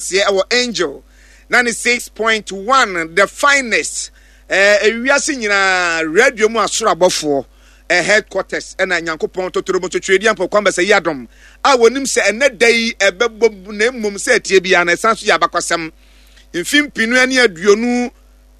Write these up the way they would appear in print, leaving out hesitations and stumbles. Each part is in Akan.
Aseɛ ɛwɔ Angel 96.1 the finest ɛɛ ewiase nyinaa radio mu asoro abɔfoɔ ɛ headquarters ɛna Nyankopɔn totoro mu twetweedi ampɔ kwan bɛsɛ yi adom a wɔnim sɛ ɛnɛ da yi ɛbɛbɔ na mmom sɛ ɛteɛ biara na ɛsan so yɛ abakwasɛm mfe mpinu ne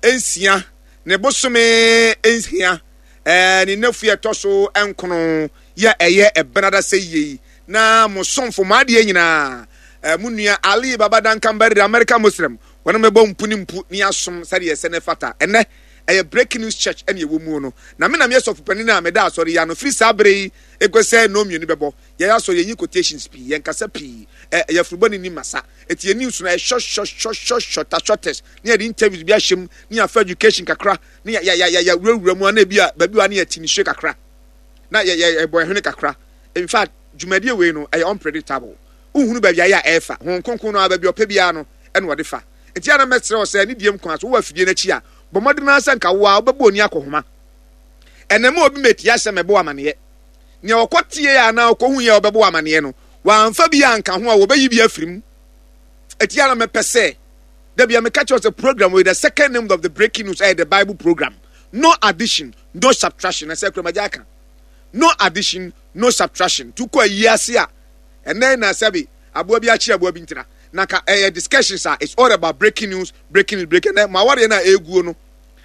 26 ne bosome 6 ɛɛ ne nafua ɛtɔ so nkono yɛ ɛyɛ ɛbenada sɛ yie yi na mo somfo mo adeɛ nyinaa eh, mo nua Ali Baba Duncan Barry American Muslim wɔn mɛbɔ mpu ne mpu ne asom sɛdeɛ ɛsɛ ne fata. Ɛnɛ ɛyɛ Breaking News Church ɛne ɛwɔ mu no, na me na meyɛ sɔfo panin a meda asɔre yi ano firi saa bere yi ɛkɔ sɛ nnɔn mmienu bɛbɔ. Yɛyɛ asɔre, yɛnyi quotations pii, yɛnkasa pii, ɛ ɛyɛ afurubɔ ne ni masa, ɛti yɛn news no ɛyɛ short short short short shorter shortest, ne yɛde interviews bi ahyɛ mu, ne yɛafa education kakra, ne yɛ yɛ yɛ yɛwurawura mu ana ebi a baabi wa ne yɛte nisuo kakra, na yɛ yɛ yɛbɔ ɛhwene kakra. In fact, dwumadie wei no, ɛyɛ unpredictable. Wonhunu baabi a ɛyɛ a ɛrefa. Honhom Kronkron no ara, baabi a ɔpɛ biara no, ɛna ɔde fa. Nti a na mɛsrɛ wo sɛ, ne diem kwan so, wowɔ afidie no akyi a, bɔ mmɔden ara sɛ nka wo ara wobɛbɔ oni akɔhoma. Ɛnɛ ma obi mɛtie asɛm ɛbɔ wo amaneɛ. Nea ɔkɔ tie anaa ɔkɔhu yɛ a ɔbɛbɔ wo amaneɛ no, wamfa bi anka ho a, wɔbɛyi bi afiri mu. Ɛti a na mɛpɛ sɛ, da bia meka kyerɛ wo sɛ program wei, the second name of the breaking news ɛyɛ the Bible program. No addition, no subtraction. Ɛsɛ kura magya aka. No addition, no subtraction. Tu kɔ ayi ase a, ɛnɛ na sɛbi aboa bi akyi aboa bi ntira. Na ka ɛyɛ discussions a, it's all about breaking news, breaking news, breaking. Ɛnɛ mo awareɛ no a ɛreguo no,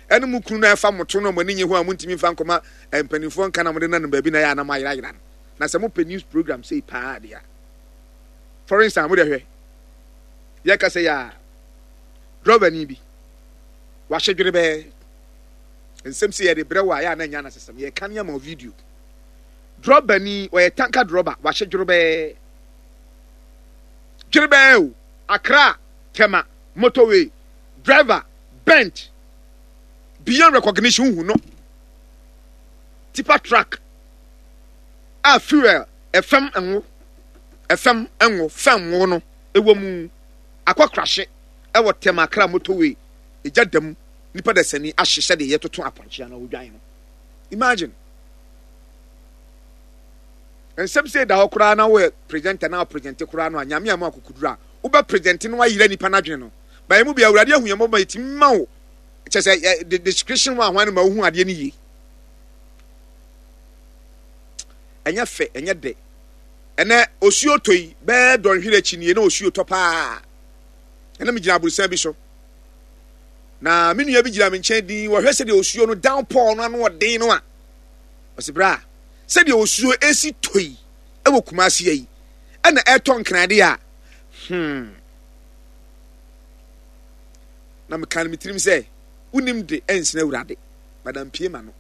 ɛne mo kunu no a ɛfa mo to no a mo ani nye ho a montumi mfa nkɔma mpanimfoɔ nka na mode nanam baabi na ɛyɛ a na moayerayera no. Na sɛ mopɛ news program sei paa deɛ a, for instance, mo deɛ hwɛ, yɛka sɛ yɛ a, drɔbani bi, wahyɛ dwerebɛɛ, Nsɛm sei yɛde brɛ wo a, ɛyɛ a na ɛnyɛ anasesɛm. Yɛreka ne ama wo video. Drɔbani, ɔyɛ tanka drɔba, wahye dworobɛɛ. Dwerebɛɛ o, Accra, Tema, motorway, driver, bent, beyond recognition, wohu no. Tipa truck a fuel, ɛfam ngo, ɛfam ngo, fam ngo no, ɛwɔ mu. Akɔ krahye ɛwɔ Tema Accra motorway, egya da mu. nipa dasani ahye sɛdeɛ yɛtoto apɔnkye anaa odwan no. Imagine. Nsɛm sɛ da hɔ koraa na woyɛ presenter na presente koraa no a nyame ama akokuduru a wobɛ presente no ayera nipa n'adwene no. Ba mu bi awurade ahu yɛn mmɔbɔ ma yɛtumi ma wo kyɛ sɛ the description wa hwan no ma wohu adeɛ no yie. Ɛnyɛ fɛ, ɛnyɛ dɛ. Ɛnɛ osuo tɔ yi bɛɛ dɔnhwere akyi nie na osuo tɔ paa. Ɛna megyina aborosan bi so. Na me nua bi gyina me nkyɛn dinn, wɔhwɛ sɛdeɛ osuo no downpour no ano ɔden no a, ɔsi bra, sɛdeɛ osuo esi tɔ yi ɛwɔ Kumasi yi, ɛna ɛtɔ nkrade a, hmm. Na meka no me tirim sɛ, wonim de ɛnsene awurade, madam pie ma no.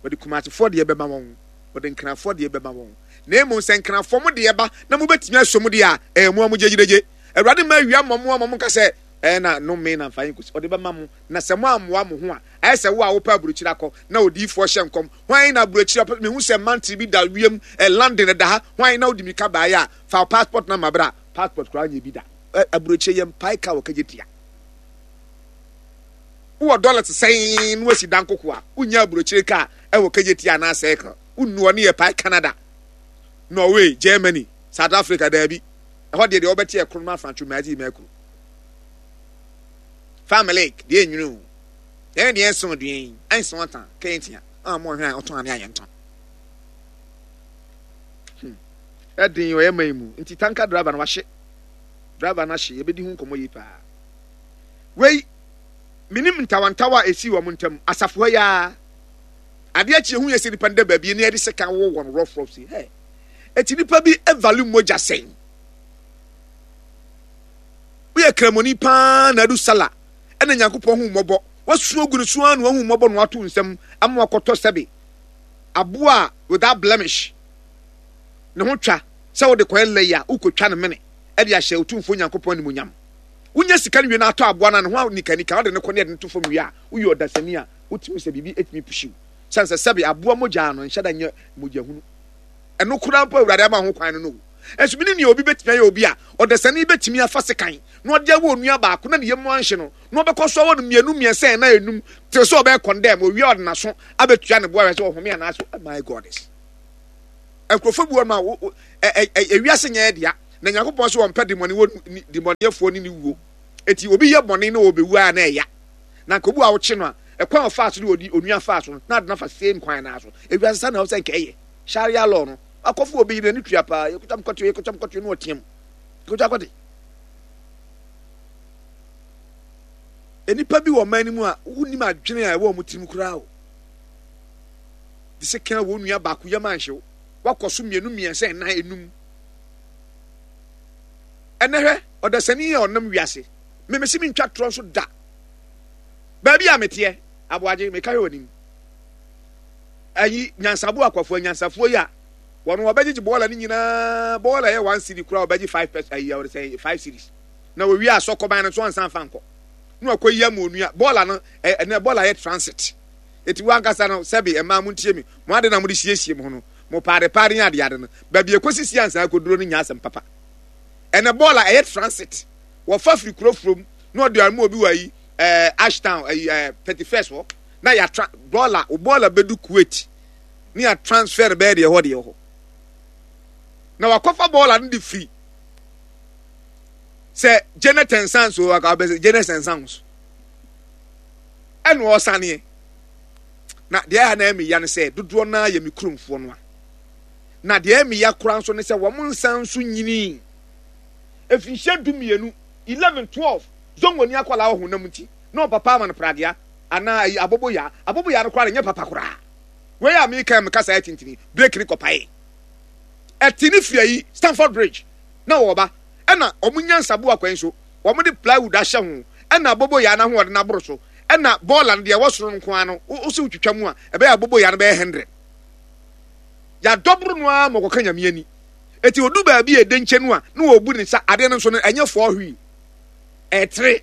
Wɔde Kumasefoɔ deɛ bɛma wɔn, wɔde nkrafoɔ deɛ bɛma wɔn. Na mmom sɛ nkrafoɔ mo deɛ ba na mobɛtumi asɔ mu deɛ a, ɛyɛ mo a mo gyegyegye. Awurade mma awia mmɔ mo a mo nka sɛ, Ɛɛ na nnome na mfa nkosi. Ɔde bɛma mo, na sɛ moammoa mo ho a, ayɛ sɛ wo a wopɛ aburokyiri akɔ, na odiyifoɔ hyɛ nkɔm. Hwan na aburokyiri ɔpɛ? Mehu sɛ mantle bi da wiem, ɛ, London ɛda ha. Hwan na wode mirika baeɛ a, fa wo passport na ma bra. Passport koraa nyɛ bi da. Ɛ, aburokyire yɛmpae ka wɔ kagye tia. Wowɔ dollars sɛn na wasi dan koko a, wonnya aburokyire kaa ɛwɔ kagye tia anaa circle. Wonnu ɔne yɛpae Canada, Norway, Germany, South Africa, daabi. Ɛhɔ deɛ deɛ wɔbɛte ɛkoro no afrantwo mmaadzi mmaakuru. Family deɛ enwunu o. Yɛn deɛ ɛnso dua yi ɛnso ɔtan kɛntia a mo hwɛ a ɔtɔn ane ayɛ ntɔn. Hmm. Ɛden ɔyɛ man mu nti tanka driver no wahye. Driver no ahye yɛbɛdi ho nkɔmmɔ yi paa. Wei menim ntawantawa a ɛsii wɔn ntam asafo ha yi ara. Adeɛ akyi ehu yɛ sɛ nipa no da baabi ne yɛde sekan wɔ wɔn rough rough si. Hey. Eti nipa bi value mogya sɛn? Woyɛ kramoni paa na adu sala ɛna Nyankopɔn hu mmɔbɔ. Wasu agu ne so ara na wahu mmɔbɔ na wato nsam ama wakɔtɔ sɛbe aboa a without blemish ne ho twa sɛ wode kɔyɛ lɛyi a wokɔtwa no mene ɛde ahyɛ Otumfoɔ Nyankopɔn animuonyam. Wonya sika no wie na atɔ aboa no a ne ho nikanika wode no kɔ ne yɛde no to fam wie a woyɛ ɔdasani a wotumi sɛ biribi ɛtumi puhyiw sane sɛ sɛbe aboa mogya no nhyɛ da nyɛ mogya hunu. Ɛno koraa mpo a Awurade ama ho kwan no no o. Nanso menim nea obi betumi ayɛ obi a ɔdasani betumi afa sekan na ɔde awɔ onua baako na ne yam anhye no, na ɔbɛkɔ so awɔ no mmienu, mmiɛnsa, nnan, enum, till sɛ ɔbɛyɛ condemn, owie a ɔde n'aso abetua ne bo ahwɛ sɛ ɔhome anaasɛ oh my goddess. Nkurɔfoɔ bi wɔ no a ewiase nyɛ dea. Na Nyankopɔn se ɔmpɛ demɔneɛfoɔ ne ne wuo. Enti obi yɛ bɔne na ɔbɛwu a na ɛya. Na nka obi a wokye no a, ɛkwan a ɔfaa so ne onua faa so no, na ade no afa same kwan no ara so. Ewiase saa na ɛwɔ sɛ nka ɛyɛ. Sharia law no, akɔfo obi yere n'ani tua paa, yɛkotwa m kɔte, yɛkotwa m kɔte, na ɔteam. Yɛkotwa kɔte. Nnipa bi wɔ ɔman no mu a wonnim adwene a ɛwɔ wɔn tirim koraa o. De sɛ kan wɔn nua baako yam anhyew, wakɔ so mmienu mmiɛnsa nnan enum. Ɛnɛ hwɛ, ɔdasani a ɔnam wiase, memesi mentwa torɔ nso da. Baabi a meteɛ, aboagye, meka hwɛ w'anim. Ayi, nyansabo akwafo, anyansafoɔ yi a, wɔn wɔbɛgyegye bɔɔla no nyinaa, bɔɔla yɛ one cedi koraa wɔbɛgye five pɛs, ayi, wɔde sɛ five cedis. Na wɔwie asɔ kɔban no nso ansa nfa nkɔ. Na wɔakɔyi ama onua, bɔɔla no, ɛnɛ bɔɔla yɛ transit. Eti wo ankasa no, sɛbe, mmaa montie me, mo ade na mode siesie mo ho no, mo paade paade ne ade ade no, baabi ɛkɔsisi ansa akɔduro no nyɛ asɛm papa. Ɛnɛ bɔɔla ɛyɛ transit. Wɔfa firi kuro furom na ɔde ama obi wɔ ayi ɛɛ Ashtown ayi ɛɛ 31st hɔ na yɛatra bɔɔla wo bɔɔla bɛdu Kuwait ne yɛ transfer no bɛyɛ deɛ ɛhɔ deɛ hɔ na wakɔfa bɔɔla no de firi sɛ Janet and Sons o aka bɛ Janet and Sons ɛna ɔsaneɛ na deɛ ɛha na ɛmi ya no sɛ dodoɔ naa yɛ me kuromfoɔ no a na deɛ ɛmi ya koraa nso ne sɛ wɔn nsa nso nyinii Mfinhyia 12, 11, 12, Zongoni akwadaa wɔ honam nti na ɔpapa ama no pragea anaa ayi aboboyaa. Aboboyaa no koraa de nyɛ papa koraa. Wei a meka yi meka saa atintini, break ne kɔpaee. Ɛte ne firi ayi Stamford Bridge na wɔba ɛna wɔn nyansa boa kwan so wɔn de plywood ahyɛ ho ɛna aboboyaa no ahoɔden aboro so ɛna bɔɔla no deɛ ɛwɔ soro no nko ara no wo sɛ wotwitwa mu a ɛbɛyɛ aboboyaa no bɛyɛ 100. Yɛadɔboro no ara ma ɔkɔka Nyame ani. Eti odu baabi a ɛda nkyɛn no a, na wɔbu ne nsa. Adeɛ no nso no, ɛnyɛ four wheel. Ɛtere.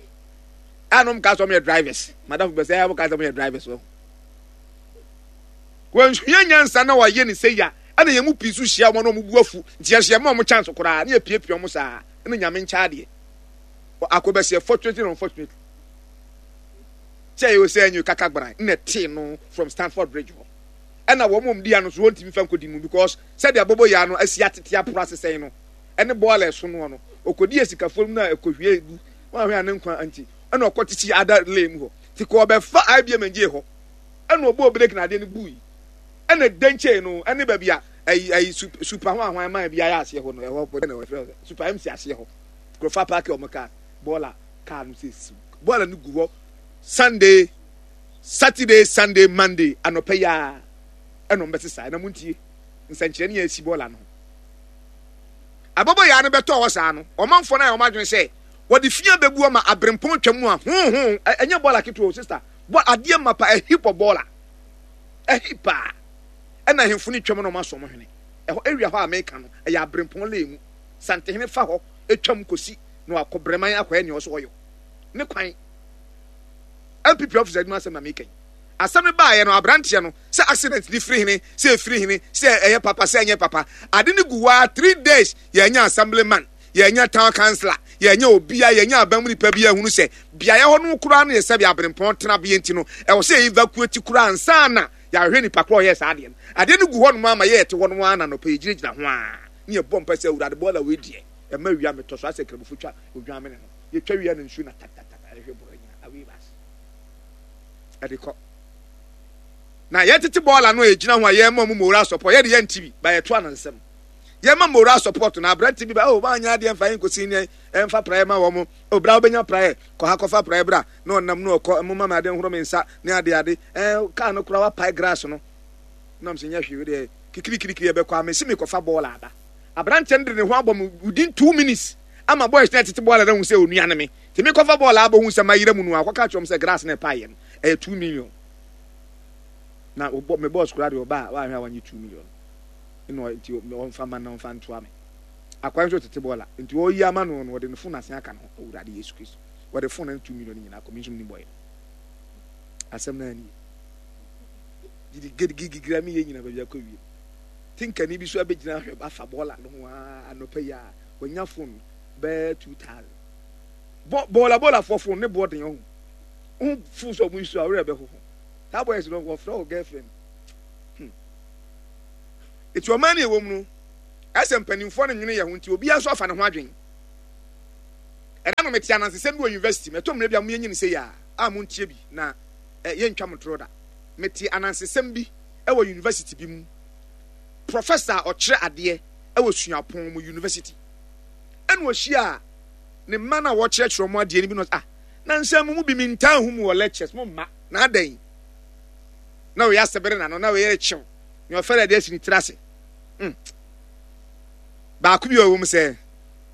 A na wɔn kaa sɛ wɔn yɛ drivers. Madam bɛ sɛ wɔn kaa sɛ wɔn yɛ drivers wɔ. Wɔnsua nyansa na wɔayɛ ne sɛ ya. Ɛna yɛn mu pii nso hyia wɔn na wɔn bu afu. Nti yɛn nso yɛma wɔn chance koraa na yɛpiapia wɔn saa. Ɛna Nyame nkyɛ adeɛ. Akɔbɛseɛ fortunately and unfortunately. Sɛ ɛyɛ sɛ ɛnyɛ kaka gbaran na ɛtee no from Stanford Bridge hɔ. Ɛna wɔn a wɔn di ano nso wɔntumi fa nkɔdi mu because Sɛdeɛ aboboyaa no asi atete aporo asesɛe no ne bɔɔla a ɛso noɔ no, ɔkɔdii asikafoɔ no mu na ɛkɔhwiee gu, wanhwɛ a ne nkwa nti, ɛna ɔkɔte sii ada lane mu hɔ. Nti kɔ ɔbɛfa IBM ngyee hɔ, ɛna ɔbɔɔ breki na adeɛ no bui, ɛna dɛnkyɛe no ɛne baabi a ayi ayi super ho ahwan man bi ayɛ aseɛ hɔ no, ɛhɔ bɔ na wɔfrɛ super MC aseɛ hɔ, nkurɔfoɔ apaake wɔn kaa, bɔɔla kaa no sɛ siw, bɔɔla no gu hɔ Sunday, Saturday, Sunday, Monday anɔpa yi ara ɛna wɔn bɛsesa, ɛna montie. Nsɛnkyerɛnne a esi bɔɔla no ho. Aboboyaa no bɛtɔɔ hɔ saa no, ɔmanfoɔ no ayɛ wɔn adwene sɛ wɔde fi abɛgu ama aberempɔn twa mu a hoo hoo. Ɛnyɛ bɔɔla ketewa o, sista. Bɔ adeɛ mapa, a heap of bɔɔla. A heap paa. Ɛna ahemfo no twam na wɔn asɔ wɔn hwene. Ɛhɔ area hɔ a meka no, ɛyɛ aberempɔn lane mu. Santehene fa hɔ twam kɔsi na wakɔ Breman akɔyɛ nea ɔsɛ ɔyɔ. Ne kwan. NPP office adwuma asɛm na meka yi. Asɛm no baeɛ no, aberanteɛ no, sɛ accident no firi hene, sɛ ɛfiri hene, sɛ ɛyɛ papa, sɛ ɛnyɛ papa, ade no gu hɔ ara 3 days, yɛanya assemblyman, yɛanya town councillor, yɛanya obia, yɛanya aban mu nipa bi ahunu sɛ beaeɛ hɔ no koraa no yɛ sɛbe aberempɔn tenabea nti no, ɛwɔ sɛ yɛ evacuate koraa ansa na yɛahwehwɛ nipa korɔ ɔyɛɛ saa adeɛ no. Adeɛ no gu hɔ nom ara ma yɛte hɔ nom ara na anɔpa yɛgyinagyina ho ara ne yɛbɔ mpae sɛ Awurade bɔɔla wei deɛ ɛma wia metɔ so asɛ Nkramofo twa odwan mene no, yɛtwa wia no nsuo na tatatata ɛhwɛ bɔɔla nyina away bus. Ɛde kɔ. Na yɛtete bɔɔla no a yɛgyina ho a yɛma mu moral support, yɛde yɛnte bi, ba yɛto anansɛm. Yɛma moral support na aberante bi ba, oh, wanyɛ adeɛ mfa yɛnkɔsi ne ɛmfa praeɛ ma wɔn. Oh, bra wobɛnya praeɛ, kɔ ha kɔfa praeɛ bra. Na ɔnam na ɔkɔ, moma me ade nhoro me nsa ne ade ade. Eh, kaa no koraa wapae grass no. Nam sɛ nyɛ hwee, deɛ kikirikirikiri ɛbɛkɔ a, mesi mekɔfa bɔɔla aba. Aberanteɛ no de ne ho abɔ me within 2 minutes ama boys na ɛtete bɔɔla no ahu sɛ onua ne me. Nti mekɔfa bɔɔla abɔ hu sɛ mayera mu no a, ɔkɔka kyerɛ wɔn sɛ grass na ɛpaeɛ no, ɛyɛ 2 million. Na ɔbɔ me boss koraa deɛ ɔba a wahwɛ a wanye 2 million. Ɛna nti ɔmfa ma na ɔmfa ntoa me. Akwan nso tete bɔɔla. Nti ɔyi ama no no ɔde ne phone asen aka no ho. Awurade Yesu Kristo. Wɔde phone no 2 million nyinaa kɔ me nso menim bɔyɛ. Asɛm no ani. Gidi gidigigira mi yɛ nyina baabi akɔ wie. Tinkani bi so abɛgyina ahwɛ afa bɔɔla no ho a anɔpa yi a wanya phone bɛyɛ 2000. Bɔ bɔɔla bɔɔlafoɔ phone ne boɔ den ɔho. Wo phone sɛ ɔmo yi so a werɛ bɛhoho. Saa boys no wɔfrɛ wo girlfriend. Eti ɔman no yɛwɔ mu no. Ɛsɛ mpanimfoɔ no nwene yɛn ho nti obiara nso afa ne ho adwene. Ɛda no mete anansesɛm bi wɔ university mu, ɛtɔ mmerɛ bi a moyɛ nyini sei a, a montie bi na eh, yɛntwa mo torɔ da. Mete anansesɛm bi wɔ university bi mu. Professor a ɔkyerɛ adeɛ wɔ suapɔn mu university. Ɛna ɔhyia ne mma no a wɔkyerɛkyerɛ wɔn adeɛ no bi na ɔsɛ, ah, nansa mu mu bi mentaa hu mu wɔ lectures, mo mma, na adɛn? Na wei asebere n'ano, na wei rekyew, nea ɔfɛre adeɛ asi ne tiri ase. Hmm. Baako bi a ɔwɔ mu sɛ,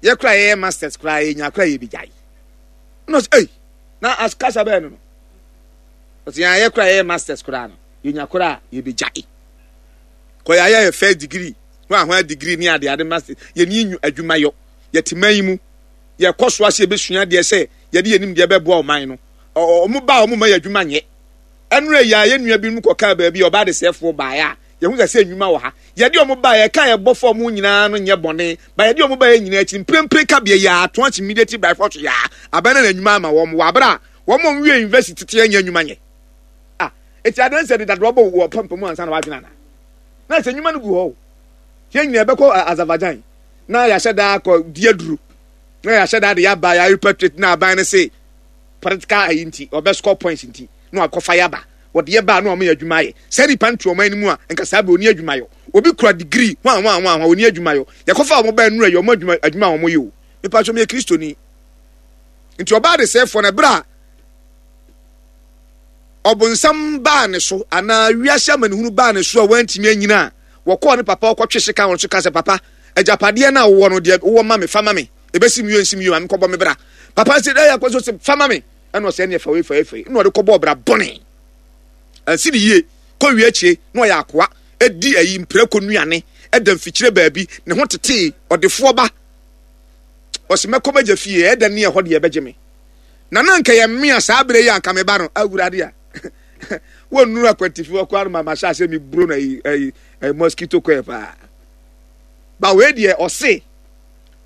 yɛ koraa yɛyɛ masters koraa yɛnya koraa yɛbɛgyae. Na ɔsɛ, ei, na kasa bɛɛ no no. Ɔsɛ yɛn ayɛ koraa yɛyɛ masters koraa no, yɛnya koraa yɛbɛgyae. Kɔ yɛ ayɛ yɛ first degree, ho ahoa degree ne ade ade masters, yɛni adwuma yɔ, yɛte man yi mu, yɛkɔ so ase yɛbɛsua adeɛ sɛ yɛde yɛnim deɛ bɛboa ɔman no. Ɔmo ba a ɔmo ma yɛ adwuma nyɛ. Ɛnora yi a yɛn nua binom kɔkaa baabi a ɔbaa adesɛefoɔ baeɛ a, yɛhu sɛ sɛ nnwuma wɔ ha. Yɛde wɔn baeɛ, ɛka a yɛbɔ fam nyinaa no nyɛ bɔne, ba yɛde wɔn baeɛ nyinaa akyi, mprempren kabea yi ara, to akyi immediately by force yi ara, aban no na nnwuma ama wɔn, wɔ abere a wɔn a wɔwie university tete nyɛ nnwuma nyɛ. Ah, eti adan sɛ de dadoa bɔ wɔ pampamu ansa na wadwene ana? Na sɛ nnwuma no gu hɔ o. Yɛn nyinaa yɛbɛkɔ Azerbaijan na yɛahyɛ da akɔ di aduro na yɛahyɛ da de yɛaba yɛ repatriate na aban no se political ayi nti ɔbɛ score points nti na wakɔfa yaba wɔde yɛ baa na wɔn yɛ adwuma ayɛ saa nipa no te ɔman no mu a nka saa bɛ oni adwuma yɔ obi kura degree hwan hwan hwan hwan oni adwuma yɔ yɛkɔfa wɔn baa nura yɛ wɔn adwuma adwuma a wɔn yɛ o nipa so yɛ kristoni nti ɔbaa de sɛfoɔ na ɛberɛ a ɔbonsam baa ne so anaa wiase amanehunu baa ne so a wantumi anyina a wɔkɔɔ ne papa ɔkɔtwe sika wɔn so ka sɛ papa agyapadeɛ no a wowɔ no deɛ wowɔ ma me fa ma me ɛbɛsi mi yie nsi mi yie ma me kɔbɔ me bra papa sɛ ɛyɛ akɔ so sɛ fa ma me ɛna ɔsɛ ɛne ɛfa wei fa wei fa wei ɛna ɔde kɔbɔ ɔbra bɔne ɛnsi ne yie kɔ wie akyire na ɔyɛ akoa ɛdi ayi mprako nnuane ɛda mfikyire baabi ne ho tetee ɔdefoɔ ba ɔsɛ mɛkɔ m'agya fie ɛda ne ɛhɔ deɛ ɛbɛgye me na na nka yɛ mmea saa berɛ yi anka me ba no awurade a wɔnnuru akwantifi hɔ koraa no ma mahyɛ asɛ meburo no ayi ayi mosquito kɔɛ paa ba wei deɛ ɔse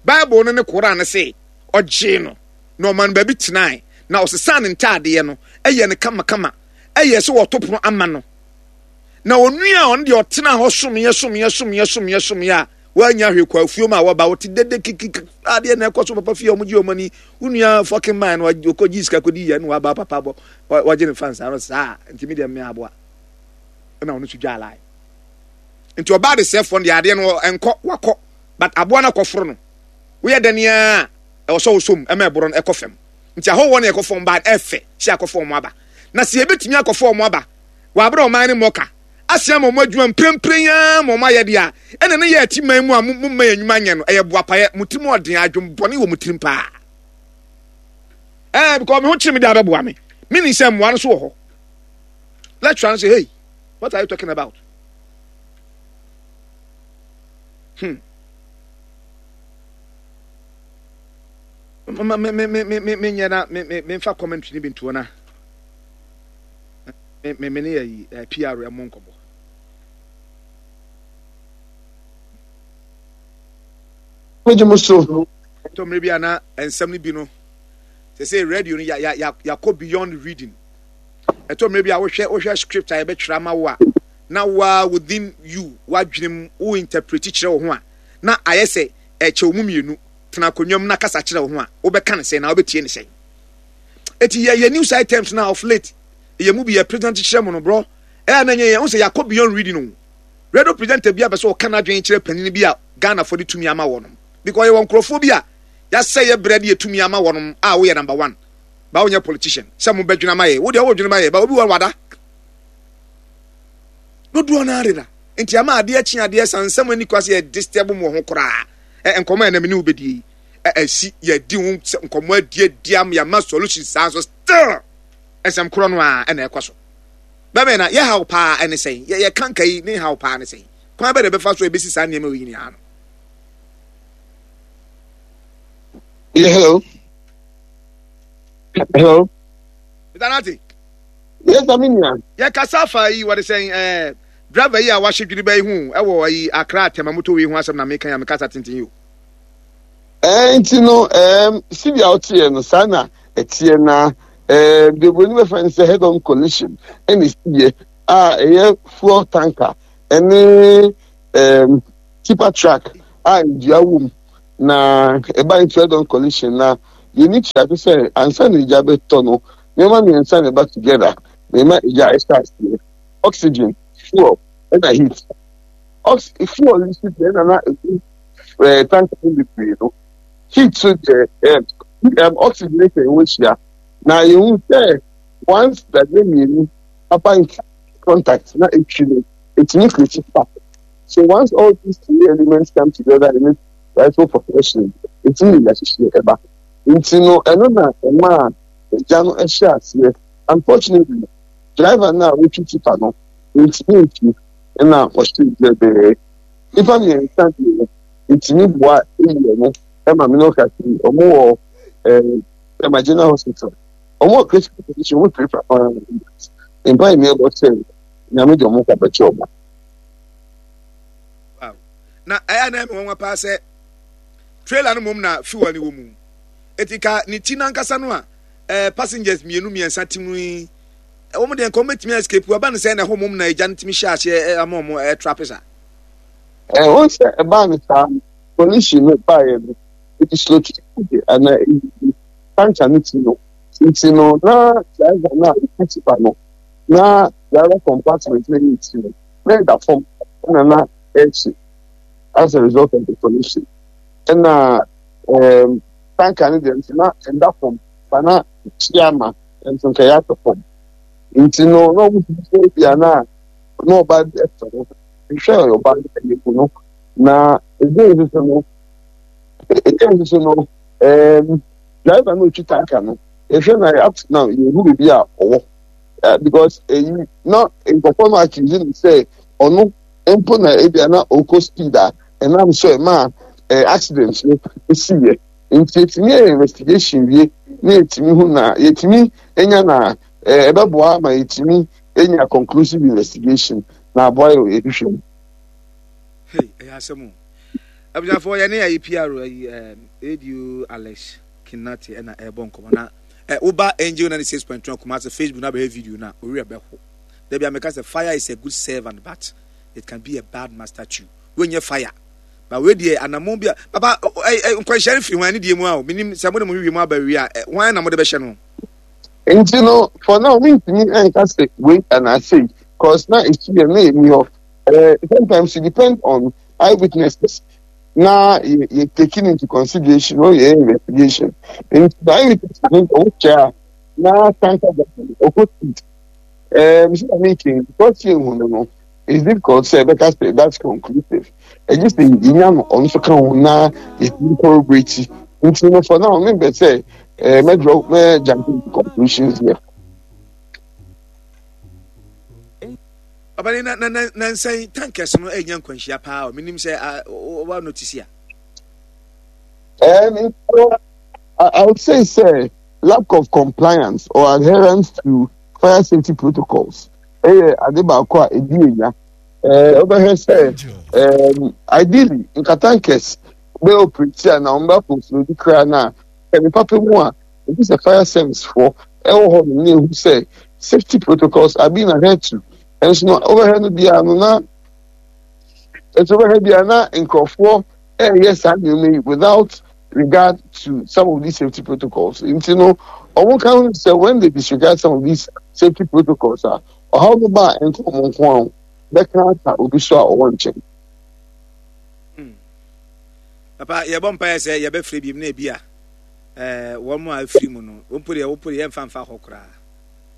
Bible no ne Koran no se ɔgyee no na ɔma no baabi tenae, na ɔsesaa ne ntaadeɛ no, yɛɛ no kamakama, yɛɛ sɛ wɔto pono ama no. Na onua a ɔno deɛ ɔtenaa hɔ someɛ someɛ someɛ someɛ someɛ a wannya hwee kɔ afuom a wɔba wɔte dede kikiki adeɛ na ɛkɔ so papa fie a wɔgye wɔn ani wo nua fucking man no ɔkɔ gye sika kɔdi yɛ na waba papa bɔ wɔgye ne fans ano saa nti mi deɛ mmea aboa ɛna ɔno nso dwa alae nti ɔbaa de sɛfoɔ no deɛ adeɛ no ɛnkɔ wakɔ but aboa no akɔforo no woyɛ dɛn ara a ɛwɔ sɛ wosɔ mu ɛma ɛborɔ no ɛkɔ fam nti ahɔhoɔ no ɛkɔ fam ba ɛfɛ sɛ akɔfa wɔn aba na sɛ yɛbɛtumi akɔfa wɔn aba wɔ abere ɔman no mmɔka asia ma wɔn adwuma mprempren ara ma wɔn ayɛ deɛ a ɛna ne yɛ ati man mu a mo mma yɛn nnwuma nyɛ no ɛyɛ boapayɛ mo tirim ɔden adwembɔne wɔ mo tirim paa ɛɛ because me ho kyerɛ me de abɛboa me meaning sɛ mmoa no so wɔ hɔ lecturer no sɛ hey what are you talking about Hmm. Me me me me me me nyɛ na me me me nfa commentary ni bi ntoɔ na me me me ne yɛ yi eh, PR ɛmo nkɔmɔ. Megye mo so. Tɔ mmerɛ bi a na nsɛm no bi no sɛ sɛ radio no ya ya ya yakɔ beyond reading. Ɛtɔ mmerɛ bi a wohwɛ wohwɛ script a yɛbɛtwerɛ ama wo a na wo ara within you w'adwene mu wo interprete kyerɛ wo ho a, na ayɛ sɛ ɛkyɛ wo mu mmienu, tena akonnwa mu na kasa kyerɛ wo ho a, wobɛka no sɛn na wobɛtie no sɛn? Eti yɛ yɛ news items na of late yɛ mu bi yɛ present kyerɛ mo no bro, ɛyɛ na nyɛ yɛ ho sɛ yɛakɔ beyond reading o. Radio presenter bi abɛ sɛ ɔka n'adwene kyerɛ panyin bi a Ghanafoɔ de tumi ama wɔnom because yɛwɔ nkurɔfoɔ bi a yɛasɛ yɛ brɛ de yɛ tumi ama wɔnom a woyɛ number one ba wonyɛ politician sɛ mo bɛdwene ama yɛ wo deɛ wodwene ma yɛ ba obi wɔ wada Dodoɔ no ara deda. Nti ama adeɛ kye adeɛ sa nsɛm ani kwa sɛ yɛ disturb mu wɔ ho koraa. Ɛ nkɔmɔ a ɛnam ne wo bɛdie yi ɛ ɛsi yɛdi ho nkɔmɔ adi adi am yɛama solution saa nso still nsɛm korɔ no ara ɛna ɛkɔ so. Bɛbɛn na yɛ haw paa ɛne sɛn yɛ yɛ kanka yi ne haw paa ne sɛn kwan bɛ na ɛbɛfa so ɛbɛsi saa nneɛma wɔ nyinaa no. Yeah, hello. Hello. Mr. Nati. Yes, I mean ya. Yɛ kasa fa yi wɔde sɛn ɛɛ driver yi a wahyɛ dwiriba yi ho ɛwɔ ayi Accra Tema motorway ho asɛm na meka ya mekasa tenten yi o. Ɛɛ nti no ɛɛm sibi a ɔteɛ no saa na ɛteɛ na ɛɛ deɛ oburoni bɛfrɛ no sɛ head on collision ɛna esiiɛ a ɛyɛ fuel tanker ɛne ɛɛm tipper truck. a dua wom na ɛba into head on collision na yɛni kyerɛ sɛ ansa na egya bɛtɔ no nneɛma mmiɛnsa na ɛba together na ɛma egya ɛhyɛ aseɛ oxygen fuel ɛna heat ox fuel yi so deɛ ɛna na ɛgu ɛɛ tank no bebree no heat so deɛ ɛɛ ɛm oxygen sɛ ɛwɔ hyia na yɛhu sɛ once dadeɛ mmienu aba into contact na etwi no etumi create spark so once all these three elements come together in its rightful proportion etumi yɛ ahyehyɛ ɛba nti no ɛno na ɛma a egya no ɛhyɛ aseɛ unfortunately driver no a wotwi tipa no ntumi ntwi ɛna ɔhyɛ dwɛbɛɛ nipa mmiɛnsa deɛ ntumi boa eyi ɛno ɛma mi no kasi ɔmo wɔ ɛɛ ɛma general hospital ɔmo wɔ critical condition ɔmo pirapira paa mpa yi mi ɛbɔ sɛ nyame de ɔmo kɔ abɛkyɛ ɔmo. Wow. Na ɛyɛ na ɛmi nwanwa paa sɛ trailer no mom na fuel no wɔ mu. Eti ka ne ti nankasa no a eh, passengers mmienu mmiɛnsa ti mu yi wɔn deɛ nka wɔn bɛtumi escape aba no sɛ na ɛhɔ mom na egya no tumi hyɛ aseɛ eh, ama wɔn ɛtrape eh, saa. Ɛ wɔn sɛ ɛbaa no saa collision no baeɛ no ɛdi slow to ana ɛdi tanka no ti no nti no na driver no a ɔka tipa no na driver compartment no yɛ ti no na ɛda fam ɛna na ɛrekyi as a result of the collision ɛna ɛɛm tanka no deɛ nso na ɛda fam ba na ɛkyi ama nso nka ɛyɛ atɔ fam nti no na wɔn ti sɛ ebi a na na ɔba ɛfɛ no nhwɛ ɔba no ɛyɛ mu no na ebi nso no ebi nso no ɛɛm driver no otwi tanka no ehwɛ na up to now yɛn hu beebi a ɔwɔ. Eh, because eyi na nkurɔfoɔ no accuse no sɛ ɔno mpo na ebia na ɔkɔ speed a ɛnam so ɛma eh, accident no esiiɛ nti yɛtumi yɛ investigation wie na yɛtumi hu na yɛtumi nya na eh, ɛbɛboa ma yɛtumi nya conclusive investigation na aboa yɛ yɛhwehwɛ mu. Hey, ɛyɛ asɛm o. Abusuafoɔ yɛne ayi PR ayi ADO Alex Kinati ɛna ɛrebɔ nkɔmɔ na Ɛ woba Angel 96.1 Kumasi Facebook na bɛhwɛ video no a, wo werɛ bɛho. Da bi a meka sɛ fire is a good servant but it can be a bad master too. Wei nyɛ fire. But wei deɛ anammɔn bi a papa ɛ ɛ nkwanhyia no firi hwan ne deɛ mu a o menim sɛ mo de mo hwehwɛ mu aba awie a ɛ hwan na mode bɛhyɛ no. Nti no for now mentumi nka sɛ wei anaa sei cause na ɛsi yɛ na ɛni hɔ. Eh, sometimes it depend on eyewitnesses. na yɛ yɛ taking into consideration when yɛ investigation nti na ayi ne ɔwɔ kyɛ a na tanka ɔkɔ street ɛɛ mesi na meeting because yɛ hu no no it's difficult sɛ ɛbɛka sɛ that's conclusive ɛgye sɛ yɛnya no ɔno nso ka ho na yɛtumi corroborate nti no for now membɛ sɛ ɛɛ mɛdraw mɛ jump into conclusions here. Ɔbɛne na na na nansa yi tankers no anya nkwanhyia paa o menim sɛ wa notice a. Um, I, I would say, say, lack of compliance or adherence to fire safety protocols. Ɛyɛ ade baako a ɛdi enya. Ɛɛ wobɛhwɛ sɛ ɛɛm ideally nka tankers bɛ operate a na wɔn bɛ akɔnfuro bi koraa na ɛne papa mu a ebi sɛ fire service foɔ ɛwɔ hɔ nom na ehu sɛ safety protocols are being adhered to ɛnso no wobɛhwɛ no biara no na ɛnso wobɛhwɛ biara na nkurɔfoɔ ɛreyɛ saa nneɛma yi without regard to some of these safety protocols nti no wɔn ka ho sɛ when they disregard some of these safety protocols a ɔhaw no ba a ɛnka wɔn nko ara bɛka aka obi so a ɔwɔ nkyɛn. Hmm. Papa yɛbɔ mpaeɛ sɛ yɛbɛfrɛ bi mu na ebi a ɛɛ wɔn a afiri mu no wɔn po deɛ wɔn po deɛ yɛmfa mfa hɔ koraa.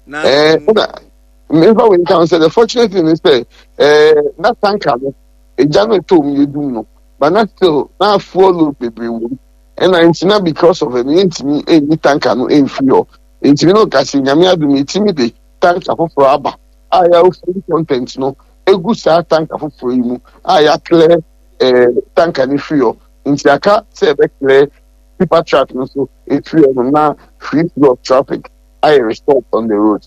Na ɛɛ ɛna mmefa wei nka sɛ the fortunate thing is sɛ ɛɛ na tanka no egya no ɛtɔ mu yɛdum no but na still na fuel load bebree wɔ mu ɛna nti na because of ɛno yɛntumi ɛnyi tanka no ɛmfiri hɔ ntumi no kasi nyame adum yɛtumi de tanka foforɔ aba a yɛawo fuel content no egu saa tanka foforɔ yi mu a yɛaklɛ ɛɛ tanka no firi hɔ nti aka sɛ ɛbɛklɛ tipper truck no so efiri hɔ nom na free flow of traffic ayɛ restored on the road.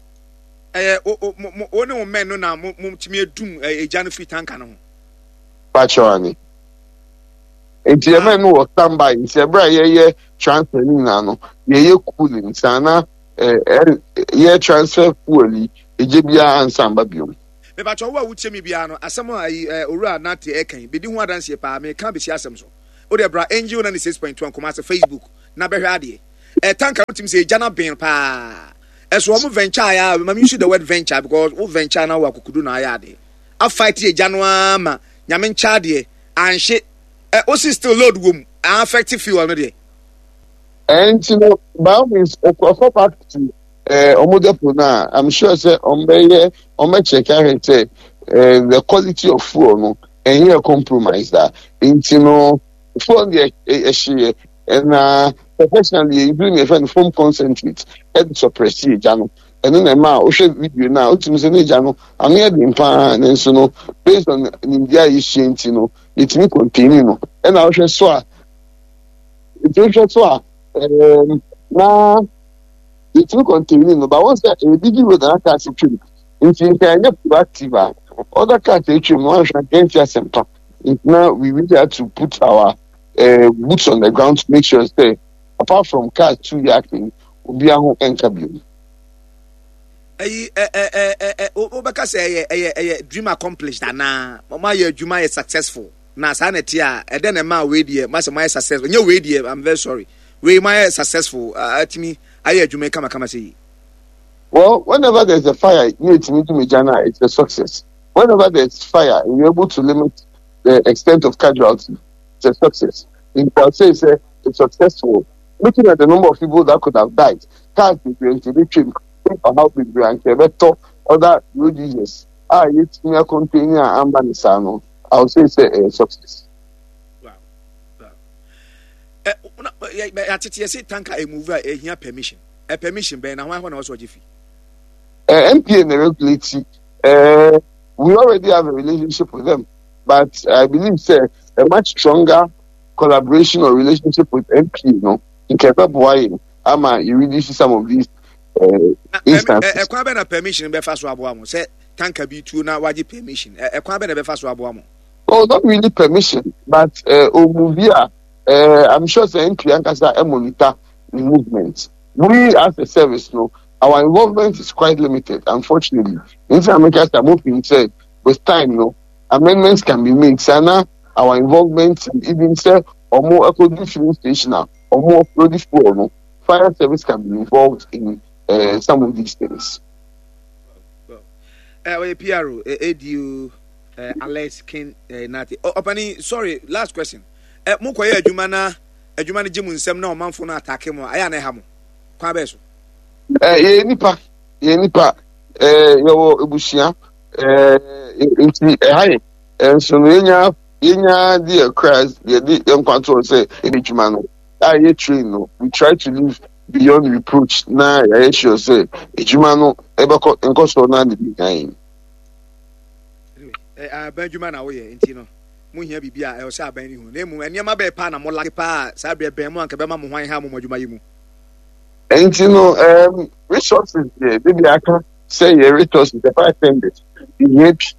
Ɛyɛ wo wo mo mo wo ne wo mɛn no na mo mo tumi edum egya no firi tanka no ho. Pakyɛw ane. Nti yɛ mɛn no wɔ standby nti ɛberɛ a yɛyɛ transfer no nyinaa no yɛyɛ cooling saa na ɛɛ yɛ transfer fuel yi egya biara ansan ba biom. Mepakyɛw wo a wotie me biara no, asɛm a ayi eh, Owura Nartey ɛka yi, bedi ho adanseɛ paa, meka besi asɛm so. Wodeɛ bra Angel 96.1 Kumasi Facebook na bɛhwɛ adeɛ. Eh, tanka no tumi sɛ egya no aben paa. Ɛso wɔn venture ayɛ a, ma me use the word venture because wo venture na wo akokodu na ayɛ adeɛ. A fight egya no ara ma nyame nkyɛ adeɛ, anhye. Eh, wosi still load wom, a affect fuel no deɛ. Ɛnti no, by all means, ɔkɔ back to ɔmo depot no a, I'm sure sɛ ɔmo bɛyɛ, ɔmo bɛ check ahwɛ sɛ the quality of fuel no ɛnyɛ compromise da. Nti no, fuel no deɛ ɛhyeɛ, ɛna professionally yɛ use nea yɛfrɛ no foam concentrate ɛde suppress egya no. Ɛno na ɛma a wohwɛ video no a, wotumi sɛ ne egya no ano yɛ den paa, nanso no based on nimdeɛ a yɛsua nti no, yɛtumi contain no. Ɛna wohwɛ so a, nti wohwɛ so a, ɛɛm, na yɛtumi contain no, but wɔn sɛ ɛyɛ busy road na cars twam, nti nka ɛnyɛ proactive a, other cars atwam no anhwɛ anka ɛnti asɛmpa. Nti na we really had to put our boots on the ground to make sure sɛ apart from cars two yɛ akan obiara ho ɛnka bio. Ɛyi ɛ ɛ ɛ ɛ wobɛka sɛ ɛyɛ ɛyɛ ɛyɛ dream accomplished anaa mo ayɛ adwuma yɛ successful na saa na ɛte a ɛdɛn na ɛmaa wei deɛ masɛ moayɛ successful nyɛ wei deɛ I'm very sorry wei moayɛ successful atumi ayɛ adwuma yi kamakama sɛ yi. Well, whenever there's a fire, you need to Jana, it's a success. Whenever there's fire, you're able to limit the extent of casualty, it's a success. In I'll say it's, a, it's successful. Looking at the number of people that could have died, cars bebree nti ebi twam, ɔhaw bebree anka ɛbɛtɔ other road users a yɛtumi akɔntɛni a amba ne saa no, I'll say it's a, a success. Wow. Wow. Eh, yɛatete yɛse tanka ɛmove a ɛhia permission. Ɛ permission bɛn na hwan hɔ na wɔsɛ ɔgye fi? Eh, NPA na regulate. Eh, we already have a relationship with them, but I believe say a much stronger collaboration or relationship with NPA no nka ɛbɛboa yɛn ama yɛ reduce some of these instances. Ɛkwan bɛ na permission bɛfa so aboa mo sɛ tanka bi tuo na wagye permission ɛkwan bɛ na ɛbɛfa so aboa mo. Well, not really permission, but omuvi a I'm sure sɛ NPA ankasa monitor the movement. We as a service no, our involvement is quite limited, unfortunately. Nti na meka sɛ I'm hoping sɛ with time no, amendments can be made. Sana our involvement even sɛ ɔmo ɛkɔdu filling station a ɔmo offload fuel no, fire service can be involved in some of these things. Ɔyɛ PRO, ADO, Alex King Nati. Ɔpani, sorry, last question. Mo kɔyɛ adwuma na adwuma no gye mo nsam na ɔmanfo no atake mo a, ɛyɛ a na ɛha mo? Kwan bɛyɛ so? Yɛyɛ nipa, yɛyɛ nipa, yɛwɔ ebusua, nti ɛha yɛ. Nso no yɛnya yɛnya de yɛ kra yɛde yɛn nkwa to sɛ yɛde adwuma no a yɛ train no, we try to live beyond reproach na yɛayɛ sure sɛ adwuma no ɛbɛkɔ nkɔsoɔ no ade bi kan. Aban adwuma na woyɛ nti no mo hia biribi a ɛwɔ sɛ aban no hu na mmom nneɛma bɛyɛ paa na mo lake paa saa berɛ bɛn mo anka bɛma mo hwan ha mo mo adwuma yi mu. Nti no resources deɛ de bi aka sɛ yɛ resources the fire tenders yɛ bi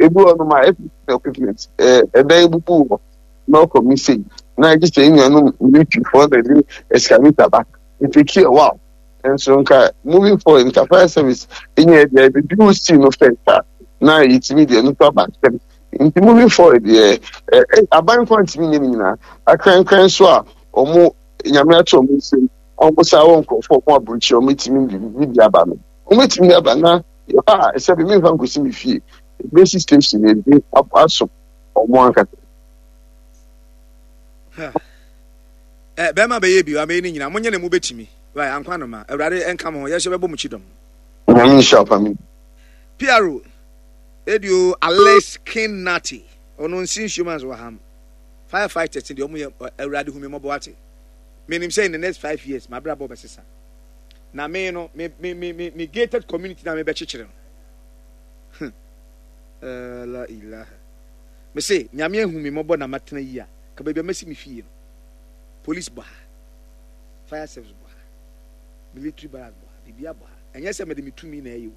ebi wɔ nom a equipment ɛdan bubu wɔ na ɔkɔ mi sei na agye sɛ nnuanom militaryfoɔ na ɛde excavator ba it take a while nso nka moving forward nka fire service nyɛ deɛ ebi wo si no first a na yɛtumi deɛ no so aba ntɛm nti moving forward deɛ ɛ aban kwan ntumi nyɛ ne nyinaa akrankran so a wɔn nyame ato wɔn nsam wɔn saa wɔ nkurɔfoɔ wɔn aburukyi wɔn etumi de bi aba no wɔn etumi de aba na yɛba a ɛsɛ bi mi nfa nkosi mi fie ebesi station ebi aso wɔn ankasa. Ɛ bɛrima bɛyɛ bi wa mɛyɛ ne nyinaa monyɛ ne mu bɛtumi. Right, ankwa no ma. Awurade nka mo ho. Yɛhyɛ bɛbɔ mo kyidɔm. Nyame nhyira wo family. PRO, Edio Alex King Nati. Ɔno nsi nsuo ma nso wɔ ham. Firefighters deɛ ɔmo yɛ Awurade hu me mmɔbɔ ate. Menim sɛ in the next 5 years m'abrabɔ bɛsesa. Na me no me me me me me gated community na mebɛkyekyere no. La ilaha. Me se Nyame ahu me mmɔbɔ na matena yi a ka baabi a masi me fie no. Police bɔ ha. Fire service bɔ ha, military barracks bɔ ha, biribiara bɔ ha. Ɛnyɛ sɛ mede me tumi na ɛyɛ o.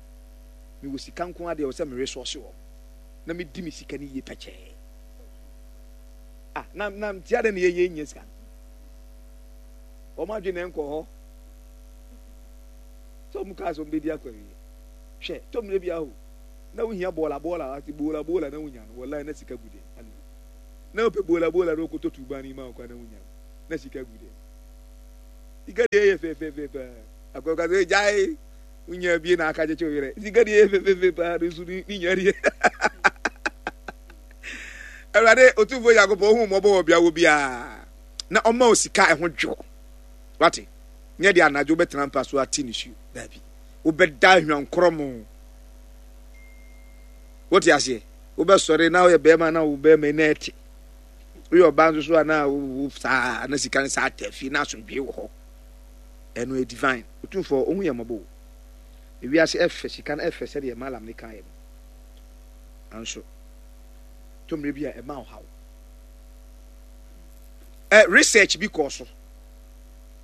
Mewɔ sika nko ara deɛ ɛwɔ sɛ me resource wɔn na medi me sika no yie pɛkyɛɛ. Ah, na na nti adɛn na yɛyɛ nyɛ sika no? Wɔn adwene na ɛnkɔ hɔ. Sɛ wɔn kaa sɛ wɔn bɛdi akɔ awie. Hwɛ, tɔ mmerɛ bi aho. Na wohia bɔɔla bɔɔla ate boola boola na wonya no wallahi na sika gu dɛm ale na wopɛ boola boola na wokɔtɔ tuban yi ma wo kwa na wonya no na sika gu dɛm sika deɛ yɛ fɛfɛɛfɛ paa akɔka sɛ gyae wonya bie na aka kyekye wo yerɛ sika deɛ yɛ fɛfɛɛfɛ paa no nso ne nya deɛ Awurade Otumfoɔ Nyankopɔn ohu mmɔbɔ wɔ bea wɔ biara na ɔma wo sika ɛho dwo wate nyɛ deɛ anadwo wobɛtena mpa so ate nisuo daabi wobɛda ahwankorɔ mo Wote aseɛ? Wobɛsɔre na woyɛ bɛrima na wo bɛrima na ɛte. Woyɛ ɔbaa nso so a na wo saa na sika no saa ta fie na asomdwee wɔ hɔ. Ɛno yɛ divine. Otumfoɔ ohu yɛ mmɔbɔ o. Ewiase ɛfɛ sika no ɛfɛ sɛdeɛ malam ne kaeɛ no. Nanso tɔ mmerɛ bi a ɛma ɔhaw. Ɛ research bi kɔɔ so.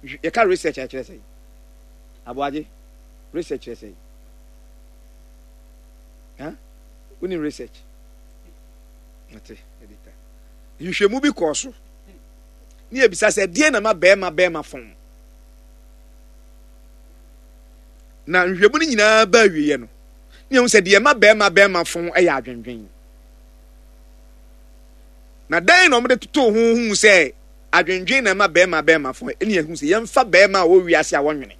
Yɛka research a ɛkyerɛ sɛn? Aboagye research kyerɛ sɛn? Huh? Wonim research? Ate, editor. Nhwehwɛmu bi kɔɔ so. Ne yɛbisa sɛ, deɛ na ma bɛrima bɛrima fɔn? Na nhwehwɛmu no nyinaa ba awieɛ no, ne yɛhu sɛ deɛ ma bɛrima bɛrima fɔn yɛ adwendwen. Na dɛn na wɔde totoo ho hu sɛ adwendwen na ɛma bɛrima bɛrima fɔn? Ɛne yɛhu sɛ yɛmfa bɛrima a ɔwɔ wiase a wɔnwene.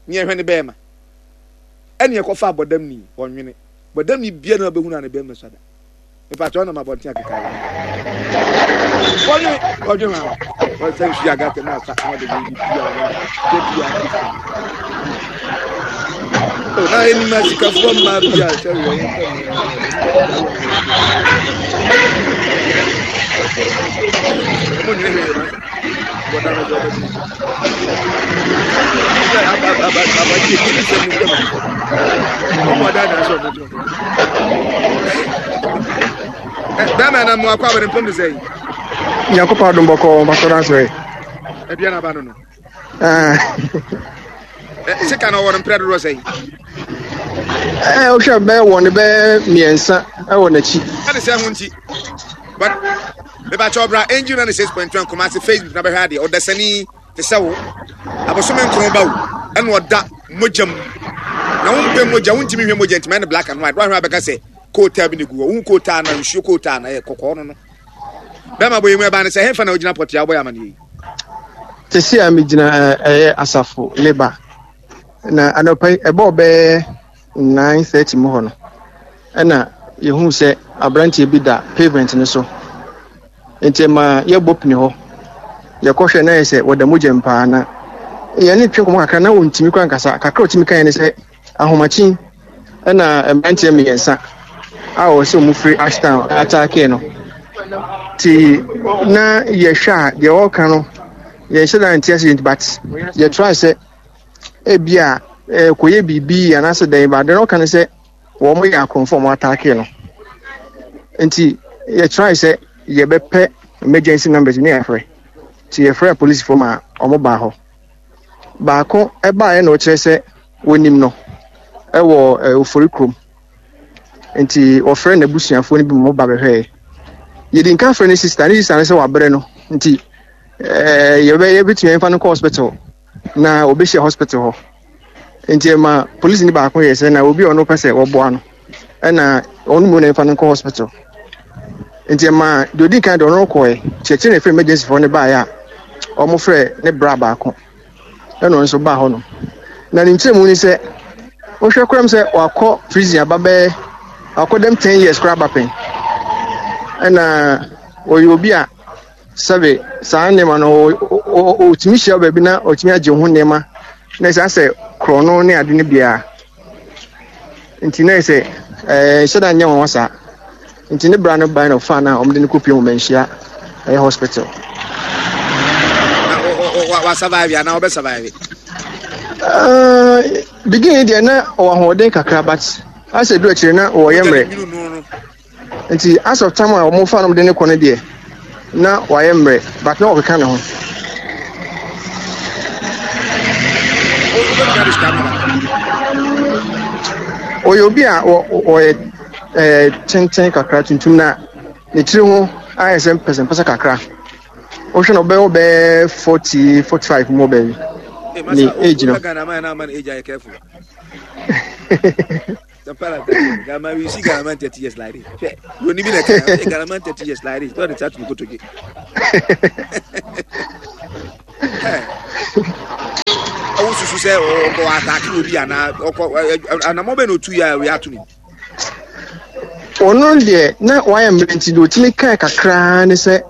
Ne yɛhwɛ ne bɛrima. Ɛne ɛkɔfa abɔdamni, ɔnwene. Bɔdamni bia na ɔbɛhunu a ne bɛrima sua da. Mepa kyɛw nam abɔnten akeka yɛ. Wɔnwene, ɔdwene ho. Wɔsɛ nsu agata mu asa na ɔde biribi bia ɔno da bia kristo. O na enim asikafoɔ mmaa bi a sɛ wɔn nsɛm Ɔmo nwene hwee ma bɔdam ɛdɛ ɔbɛsi. Bɛrima na mu akɔ abɛn mpom de sɛ yi. Nyankopɔn adom bɔkɔ mpatɔ no asɔre. Aduane aba no no. Sika na ɔwɔ no mprɛ dodoɔ sɛ yi. Ɛɛ wohwɛ bɛyɛ wɔ ne bɛyɛ mmiɛnsa ɛwɔ n'akyi. Ɛne sɛ ho nti. But mebakyɛ ɔbra angel 96.1 Kumasi Facebook na bɛhwɛ adeɛ ɔdasani te sɛ wo abosome nkron ba wo ɛna ɔda mogya mu na wompɛ mogya wontumi hwɛ mogya ntumi ɛne black and white woahwɛ abɛka sɛ kootaa bi ne gu hɔ wohu kootaa na nsuo kootaa na ɛyɛ kɔkɔɔ no no bɛma bɔ yi mu ɛbaa ne sɛ hefa na wogyina pɔtea wobɔ yɛ amaneɛ yi te sɛ a megyina ɛyɛ asafo leba na anɔpa yi ɛbɔɔ bɛyɛ 9:30 mu hɔ no ɛna yɛhuu sɛ aberanteɛ bi da pavement no so Nti ɛma yɛbɔ pini hɔ. Yɛkɔhwɛ na yɛ sɛ wɔda mogya mu paa na yɛne twe nkɔmmɔ kakra na wɔntumi kora nkasa. Kakra ɔtumi kaeɛ ne sɛ ahomakye ɛna mmeranteɛ mmiɛnsa a wɔwɔ sɛ wɔn firi Ashtown ataakee no. Nti na yɛhwɛ a deɛ ɔreka no yɛnhyɛ da nte ase but yɛtry sɛ ebi a ɛkɔyɛ biribi anaasɛ dɛn ba deɛ ɔka ne sɛ wɔn yɛ akorɔmfo a wɔn ataake no nti yɛ try sɛ yɛbɛpɛ emergency numbers ne yɛafrɛ nti yɛfrɛ apolisifoɔ ma wɔn baa hɔ baako ɛbaeɛ na ɔkyerɛ sɛ wɔnim no ɛwɔ ofori kurom nti wɔfrɛ n'abusuafoɔ no bi ma wɔba bɛhwɛɛ yɛdi nka frɛ ne sista ne sista no sɛ wabrɛ no nti ɛɛ yɛbɛ yɛbɛtumi ɛmfa no kɔ hospital na wɔbɛhyia hospital hɔ Nti ɛma polisini baako yɛ sɛ na obi a ɔno pɛ sɛ wɔboa no ɛna ɔno mu na ɛmfa no nkɔ hospital. Nti ɛma deɛ odi kan deɛ ɔno kɔɛ kyerɛkyerɛ na ɛfrɛ emergency foɔ no baeɛ a wɔn frɛ ne bra baako ɛna ɔno nso baa hɔ nom. Na ne nkyerɛmu ni sɛ wohwɛ koraa mu sɛ wakɔ prison aba bɛyɛ wakɔ dɛm ten years koraa aba pɛn ɛna ɔyɛ obi a Sɛbe saa nneɛma no ɔtumi hyia baabi na ɔtumi agye ho nneɛma na ɛsɛ asɛ korɔno ne ade no biara nti na ɛsɛ ɛɛ nhyɛ da nyɛ wɔn saa nti ne bra no ban na ɔfa na wɔde no kɔ pie wɔn manhyia ɛyɛ hospital. wa survive anaa ɔbɛ survive. Uh, beginning deɛ na ɔwɔ ahoɔden kakra but asɛ du akyire na ɔyɛ mmerɛ. Nti as of time a wɔn fa nom de ne kɔ no deɛ na wayɛ mmerɛ but na ɔkeka ne ho. Ɔyɛ obi a ɔyɛ ɛɛ tenten kakra tuntum na ne tiri ho ayɛ sɛ mpɛsɛmpɛsɛ kakra. Wohwɛ no ɔbɛyɛ ɔbɛyɛ 40 45 mu ɔbɛyɛ ne age no. Some Ghana, you see Ghana man 30 years like this. You need me like Ghana man 30 years like this. Don't start to go to get. Ɔwɔ susu sɛ ɔkɔ ataaki obi anaa ɔkɔ anamɔ bɛ na otu yɛ a oyi ato ne. Ɔno deɛ na wayɛ mmerɛ nti deɛ ɔtumi kaa kakraa ne sɛ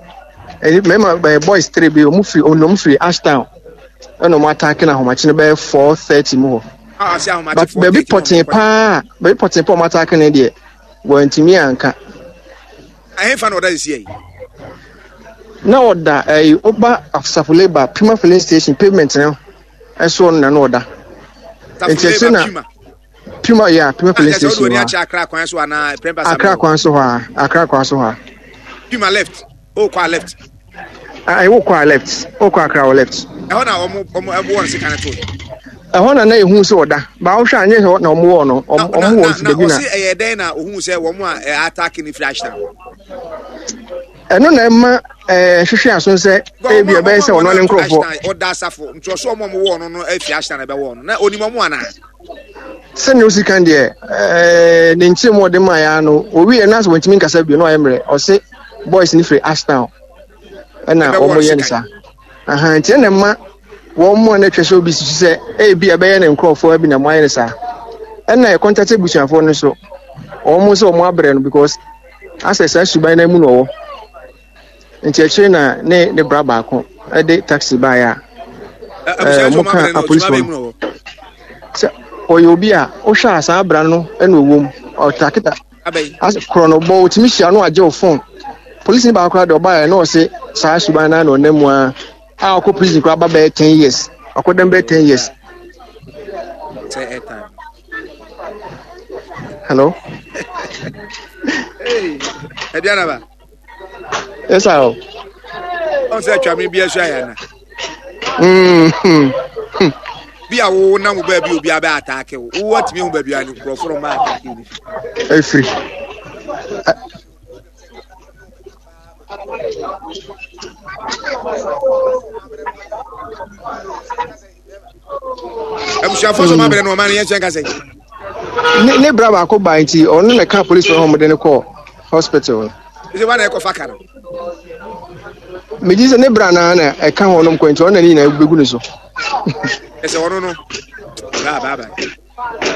mmarima bɛyɛ boys three bi wɔn firi wɔn firi Ashtown ɛna wɔn ataaki na ahomakye no bɛyɛ 4:30 mu hɔ. Ah, But baabi pɔtee paa baabi pɔtee paa wɔn ataake no deɛ wɔntumi anka. Ɛhefa na ɔda sisi yi? Na ɔda ɛyi ɔba Asafo Labour Puma filling station pavement no ɛsoɔ no na na ɔda. Nti ɛkyɛ na Puma yɛ Puma filling station hɔ. Akra kwan so anaa Akra kwan so hɔ a Akra kwan so hɔ a. Puma left. O kɔ a left. Ayi wo kɔ a left. O kɔ akra wɔ left. Ɛhɔ na wɔn wɔn ɛwɔ wɔn sika no to. Ɛhɔ na na ehu sɛ ɔda. Ba wohwɛ anyɛ hɔ na wɔn wɔ no. Wɔn wɔn wɔ nso baabi na. Na ɔsi ɛyɛ dɛn na ohun sɛ wɔn a ɛ atake ne firi ahyɛn. Ɛno na ɛma ɛɛ hwehwɛ aso sɛ ebi ɛbɛyɛ sɛ ɔno ne nkurɔfoɔ. Ɔda asafo nti ɔsɔ wɔn a wɔn wɔ no no efi ahyɛn na ɛbɛwɔ no na onim wɔn anaa. Sɛnea osi kan deɛ, ɛɛ ne nkyerɛmu a ɔde maa ya no, owie na sɛ wɔntumi nkasa bio na ɔyɛ mmerɛ. Ɔse boys no firi Ashtown ɛna wɔn yɛ no saa. Aha nti ɛna ɛma wɔn mu a na atwa sɛ obi susu sɛ ebi ɛbɛyɛ ne nkurɔfoɔ bi na wɔayɛ no saa. Ɛna ɛkɔntate abusuafoɔ no nso, wɔn nso wɔn abrɛ no because asɛ saa suban no mu na ɔwɔ. Nti akyire na ne ne bra baako de taxi baeɛ a ɛɛ wɔn ka apolisifoɔ no sɛ ɔyɛ obi a wohwɛ a saa bra no na ɔwɔ mu ɔtakita asɛ korɔ no bɔ otumi hyia no agye wo phone polisi ni baako koraa deɛ ɔbaeɛ na ɔse saa suban no na ɔnam mu a a ɔkɔ prison koraa ba bɛyɛ 10 years ɔkɔ dɛm bɛyɛ 10 years. Hello. Hey, Aduanaba. Yes, sir. Ɔn sɛ atwa me bi asu ayɛ ana. Bi a wo nam wo baabi obi abɛ ataake wo. Wo atumi hu baabi a nkurɔfo no ma ataake wo. Efiri. Abusuafo so ma bere no ɔma no yɛn kyɛn kasa yi. Ne ne bra baako ba nti ɔno na ɛka polisi hɔ wɔde no kɔɔ hospital no. Ɛsɛ wa na ɛkɔfa ka no. Megye sɛ ne bra na na ɛka hɔ nom kɔ nti ɔno na ne nyinaa bɛgu ne so. Ɛsɛ ɔno no baa baa baa.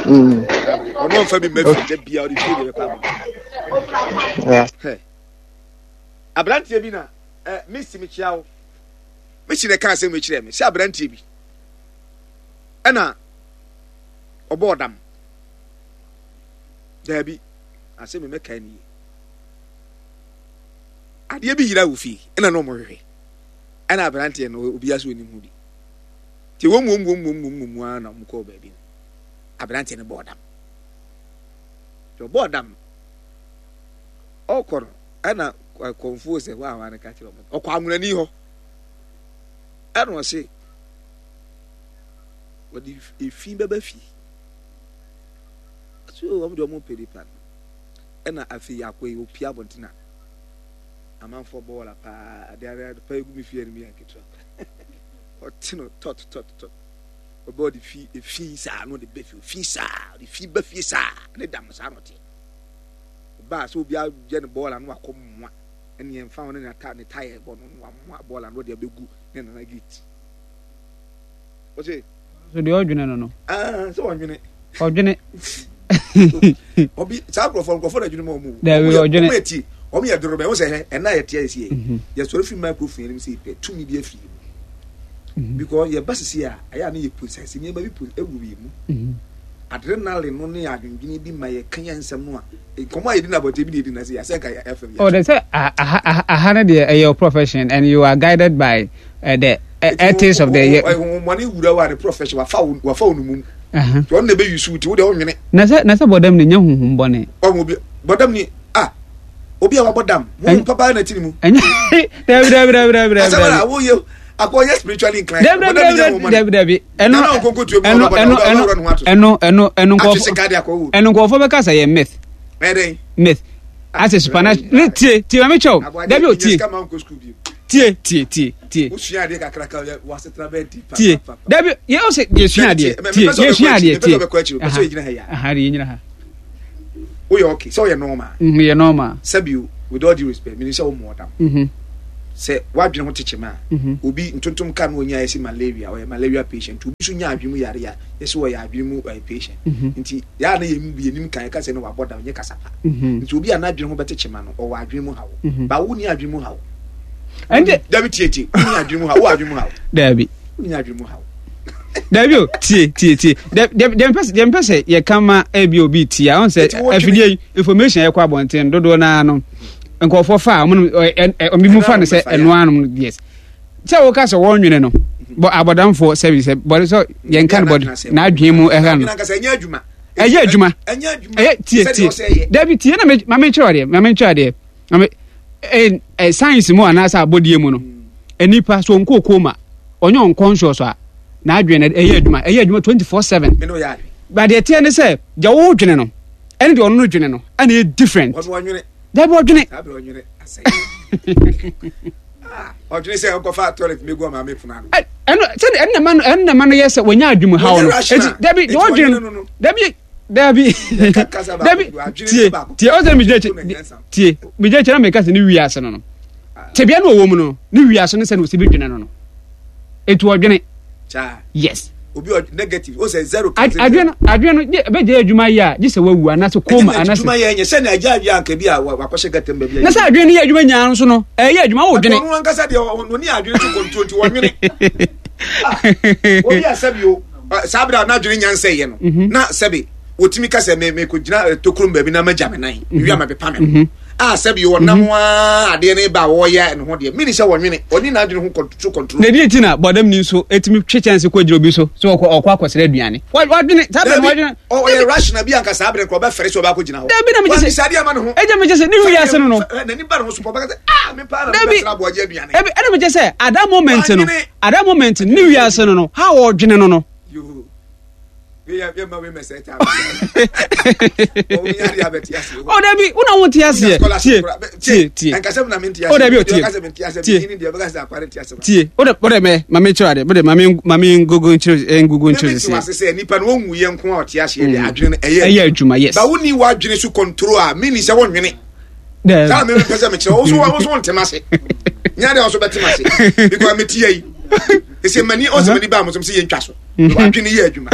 Ɔno ɔmfa bi mma fi da bia ɔde fie deɛ bɛkɔ aba. Aberanteɛ bi na eh, mesi mekyia wo. Mesi na ɛka asɛm wei kyerɛɛ me sɛ aberanteɛ bi ɛna ɔbɔɔ dam. Daabi, asɛm mi mɛka nie. Adeɛ bi yera wɔ fie ɛna na wɔhwehwɛ ɛna aberanteɛ no obiara so onim ho bi. Nti wɔn mu wɔn mu wɔn mu wɔn mu ara na wɔn kɔɔ baabi no aberanteɛ no bɔɔ dam. Nti ɔbɔɔ dam no ɔkɔ no ɛna kɔnfuo sɛ hɔ a hɔ ano ka kyerɛ wɔn ɔkɔ anwonani hɔ ɛna ɔse wɔde efi bɛba fie. So wɔn deɛ wɔn pɛ nipa no ɛna afei akɔ yi opia abɔnten a amanfoɔ bɔ wɔla paa adeɛ adeɛ ade paa egu mi fie anim yɛ nketewa ɔte no tɔt tɔt tɔt ɔbɛ ɔde fi efi saa na ɔde bɛ fi fi saa ɔde fi ba fie saa ne dam saa na ɔte ɔbaa sɛ obi ayɛ ne bɔɔla no wakɔ mmoa ɛne yɛn fa ho ne ne ta yɛ bɔ no wamoa bɔɔla no ɔde abɛgu ne nana gate ɔse. So deɛ ɔdwene no no. Ah, sɛ ɔdwene. Ɔdwene. Obi saa nkurɔfoɔ nkurɔfoɔ na adwene ma wɔn o. Dɛbi ɔdwene. Wɔn yɛ tie wɔn yɛ doro bɛn wɔn sɛ hɛ ɛna yɛ tia yɛ si yɛ. Mhm. Yɛ sɔrɔ fi microphone yɛn sɛ pɛ tumi bi afiri mu. Mhm. Because yɛ ba sisi a ɛyɛ a ne yɛ process nneɛma bi pro ewu yɛ mu. Mhm. Adrenaline no ne adwendwene bi ma yɛ ka yɛn nsɛm no a nkɔmɔ a yɛdi na abɔnten bi na yɛdi na sɛ yɛasɛ nka yɛ fam yɛ. Ɔde sɛ aha aha no deɛ ɛyɛ your profession and you are guided by uh, the ethics of the. Honhommɔne wura wo a ne profession wafa wo wafa wo no mum. Nti ɔno na ebe yusu ti wo deɛ ɔnwene. Na sɛ na sɛ bɔdam ni nyɛ honhom bɔne. Ɔmo obi bɔdam ni ah obi a wabɔ dam honhom papa na ti ne mu. Ɛnyɛ dabi dabi dabi dabi dabi. Asɛm a woyɛ akɔ ɔyɛ spiritually inclined. Dabi dabi dabi dabi dabi. Ɛno ɛno ɛno ɛno ɛno ɛno nkɔfo ɛno nkɔfo bɛka sɛ yɛ myth. Myth. Asɛ supernatural ne tie tie maame kyɛw dabi o tie tie tie tie tie. Wosua adeɛ kakraka yɛ wasetena bɛyɛ di pa. Tie dabi yɛ ɔsɛ yɛ sua adeɛ tie yɛ sua adeɛ tie. Aha de yɛ nyina ha. Woyɛ okay sɛ woyɛ normal. Mm, yɛ normal. Sɛbi o, with all due respect, menim sɛ wo mmoɔ dam. Mm -hmm. Sɛ w'adwene ho tekyem a, mm -hmm. obi ntontom ka no onya yɛsi malaria, ɔyɛ malaria patient. Obi nso nya adwene mu yare a, yɛsi ɔyɛ adwene mu uh, patient. Mm -hmm. Nti yɛa na yɛn mu bi yɛnim kan yɛka sɛ no wabɔ dam nyɛ kasa pa. Mm -hmm. Nti obi a n'adwene ho bɛtekyem ano, ɔwɔ adwene mu haw. Mm -hmm. Ba wo ni adwene mu haw. Ɛnde. Dabi tie tie, wo ni adwene mu haw, wo adwene mu haw. Dabi. Wo ni adwene mu haw. Dabi o, tie tie tie. Deɛ mpɛ deɛ mpɛ sɛ yɛka ma ebi obi tie a, ɔn sɛ afidie yi information a ɛkɔ abɔnten dodoɔ naa no nkurɔfoɔ fa a wɔn ɛ ɛ ɔmo mu fa no sɛ ɛnoa nom yes. Sɛ wɔka sɛ wɔn nwene no bɔ abɔdamfoɔ sɛbi sɛ bɔde sɛ yɛn ka no bɔde n'adwene mu ɛha no. Ɛyɛ adwuma. Ɛyɛ tie tie. Dabi tie na ma me nkyerɛ adeɛ ma me nkyerɛ adeɛ. Ɛ ɛ science mu anaasɛ abɔdeɛ mu no nipa so nkɔ koma ɔnyɛ unconscious a n'adwene no ɛyɛ adwuma ɛyɛ adwuma 24/7 but deɛ teɛ ne sɛ deɛ wodwene no ɛne deɛ ɔno no dwene no ɛna ɛyɛ different dabi ɔdwene ɔdwene sɛ ɔkɔfa toilet mi gu ɔmaame pono ano ɛno sɛ ɛno na ma no ɛno na ma no yɛ sɛ wɔnya adwuma haw no eti dabi deɛ ɔdwene no dabi dabi dabi tie tie ɔsɛ mi gyina akyi tie mi gyina akyi na mi ka sɛ ne wiase no no tebea no ɔwɔ mu no ne wiase no sɛ na ɔsi bi dwene no no etu ɔdwene yes obi ɔ negative o sɛ zero kan adwene no adwene no gye bɛ gye adwuma yɛ a gye sɛ wawu anaasɛ koma anaasɛ adwuma yɛ nyɛ sɛ na agya adwene anka bi a wakɔhyɛ gata mu baabi a na sɛ adwene no yɛ adwuma nyaa nso no ɛyɛ adwuma wo dwene ɔno ankasa deɛ ɔne adwene to kɔntuo nti wɔnwene obi a sɛbi o saa bere a n'adwene nya nsɛeɛ no mhm. na sɛbi wɔtumi ka sɛ mekɔgyina eh, tokurom baabi na magya me nan mhm. mewia ma bepa me ho mhm. a sɛbi ɔnam a adeɛ no ba a wɔyɛ ne ho deɛ mene sɛ wɔnwene ɔne n'adwene ho so control. Na ɛdeɛ nti na bɔdam ni nso ɛtumi twe kyɛnse kɔ gyina obi so sɛ ɔkɔ ɔkɔ akɔsrɛ aduane wadwene saa bɛn wadwene. ɔyɛ rational bi anka saa bɛn kɔ ɔbɛfɛre sɛ ɔbɛakɔ gyina hɔ. Dabi na megye sɛ adeɛ ama ne ho. Ɛgya megye sɛ ne wiase no no. N'ani ba ne ho so pɔ ɔbɛka sɛ ah me paa na mebɛsrɛ aboagye aduane. Ɛbi ɛna megye sɛ at that moment no at that moment ne wiase no no how ɔdwene no no. Oh, dabi wo na wo te aseɛ tie tie tie oh dabi o tie tie tie o de o de mɛ maame kyerɛ ade o de maame maame ngogo nkyerɛ ngogo nkyerɛ sisi. sɛ nipa no wɔn yɛ nko a ɔte aseɛ de adwene no ɛyɛ ɛyɛ adwuma yes. ba wo ni w'adwene so control a mi ni sɛ wɔn nwene. Saa mi pɛ sɛ mi kyerɛ wo so wo so wɔn ntɛm ase nyɛ de ɔso bɛ tɛm ase because mi ti yɛ yi ese mani ɔsɛ mani ba mo so sɛ yɛ ntwa so. Adwene yɛ adwuma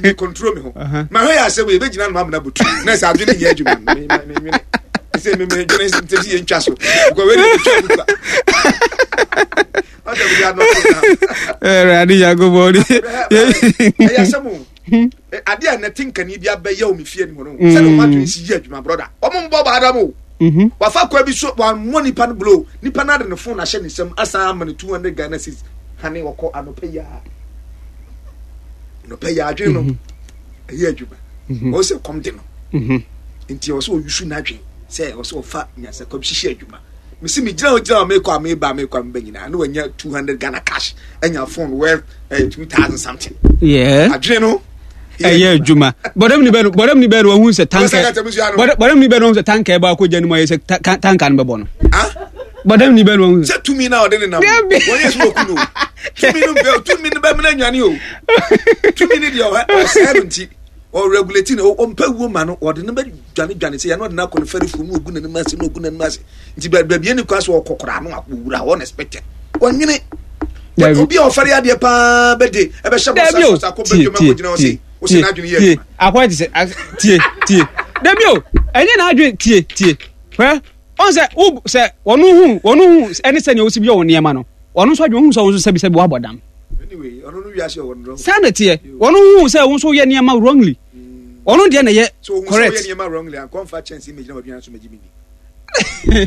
mi control mi ho ma hwɛ yɛ asɛm yɛ bɛ gyina no ma amuna butu na sɛ adwene nyɛ adwuma mi mi nwene sɛ mi mi dwene sɛ yɛ ntwa so because wei de ntwa butu a ɔsɛ mi de anɔ to na. Ɛwurade Yankopɔn ni. Ɛyɛ asɛm o adeɛ a nɛte nkani bi abɛyɛ wɔ mi fie ni mu no sɛdeɛ wɔn adwene si yɛ adwuma broda wɔn mbɔ baada mu o wafa kwa bi so wɔn nipa no blow nipa no ade ne phone ahyɛ ne nsam asan ama no 200 Ghana cedis hane wɔkɔ anɔpɛ yi a anɔpɛ yi adwene no mhm. ɛyɛ adwuma mhm. wɔn sɛ kɔm de no mhm. nti ɔsɛ ɔyusu n'adwene sɛ ɔsɛ ɔfa nyansa kɔm hyehyɛ adwuma mesi mi gyina hɔ gyina hɔ mekɔ a meba mekɔ a meba nyinaa ne wanya 200 Ghana cash anya phone worth eh, 2000 something yeah. adwene no ɛyɛ adwuma bɔdɛm ni bɛn bɔdɛm ni bɛn wɔn sɛ tanka bɔdɛm ni bɛn wɔn sɛ tanka ɛbɔ akɔ gya no mu ayɛ sɛ tanka no bɛbɔ no bɔdɛm ni bɛn wɔn sɛ tumi na ɔde ne nam wɔn yɛ sɛ ɔku no tumi no bɛ tumi no bɛ mena nwane o tumi no deɛ ɔsɛɛ no nti ɔregulate no ɔmpɛ wuo ma no ɔde no bɛ dwane dwane sɛ yɛn ɔde no akɔ no fɛre fuo mu ogu n'anim ase na ogu n'anim ase nti baabi ɛni kwan so ɔkɔ koraa no akɔwura hɔ unexpected wɔnwene obi a ɔfɛre adeɛ paa bɛde ɛbɛhyɛ bɔ sa sɔ akɔ bɛdwom akɔgyina hɔ se wosɛ n'adwene yɛ adwuma akɔyɛ te sɛ tie tie dabi o ɛnyɛ n'adwene tie tie hwɛ ɔn sɛ wo sɛ wɔn hu wɔn hu ɛne sɛ nea osi bi yɛ wɔn nneɛma no wɔn nso adwene hu sɛ wɔn nso sɛbi sɛbi wabɔ dam saa na teɛ wɔn hu sɛ wɔn nso yɛ nneɛma wrongly wɔn deɛ na yɛ correct. So nneɛma wrongly ankɔnfa kyɛnse mmegyina wɔn aduane so mɛgye mi ni.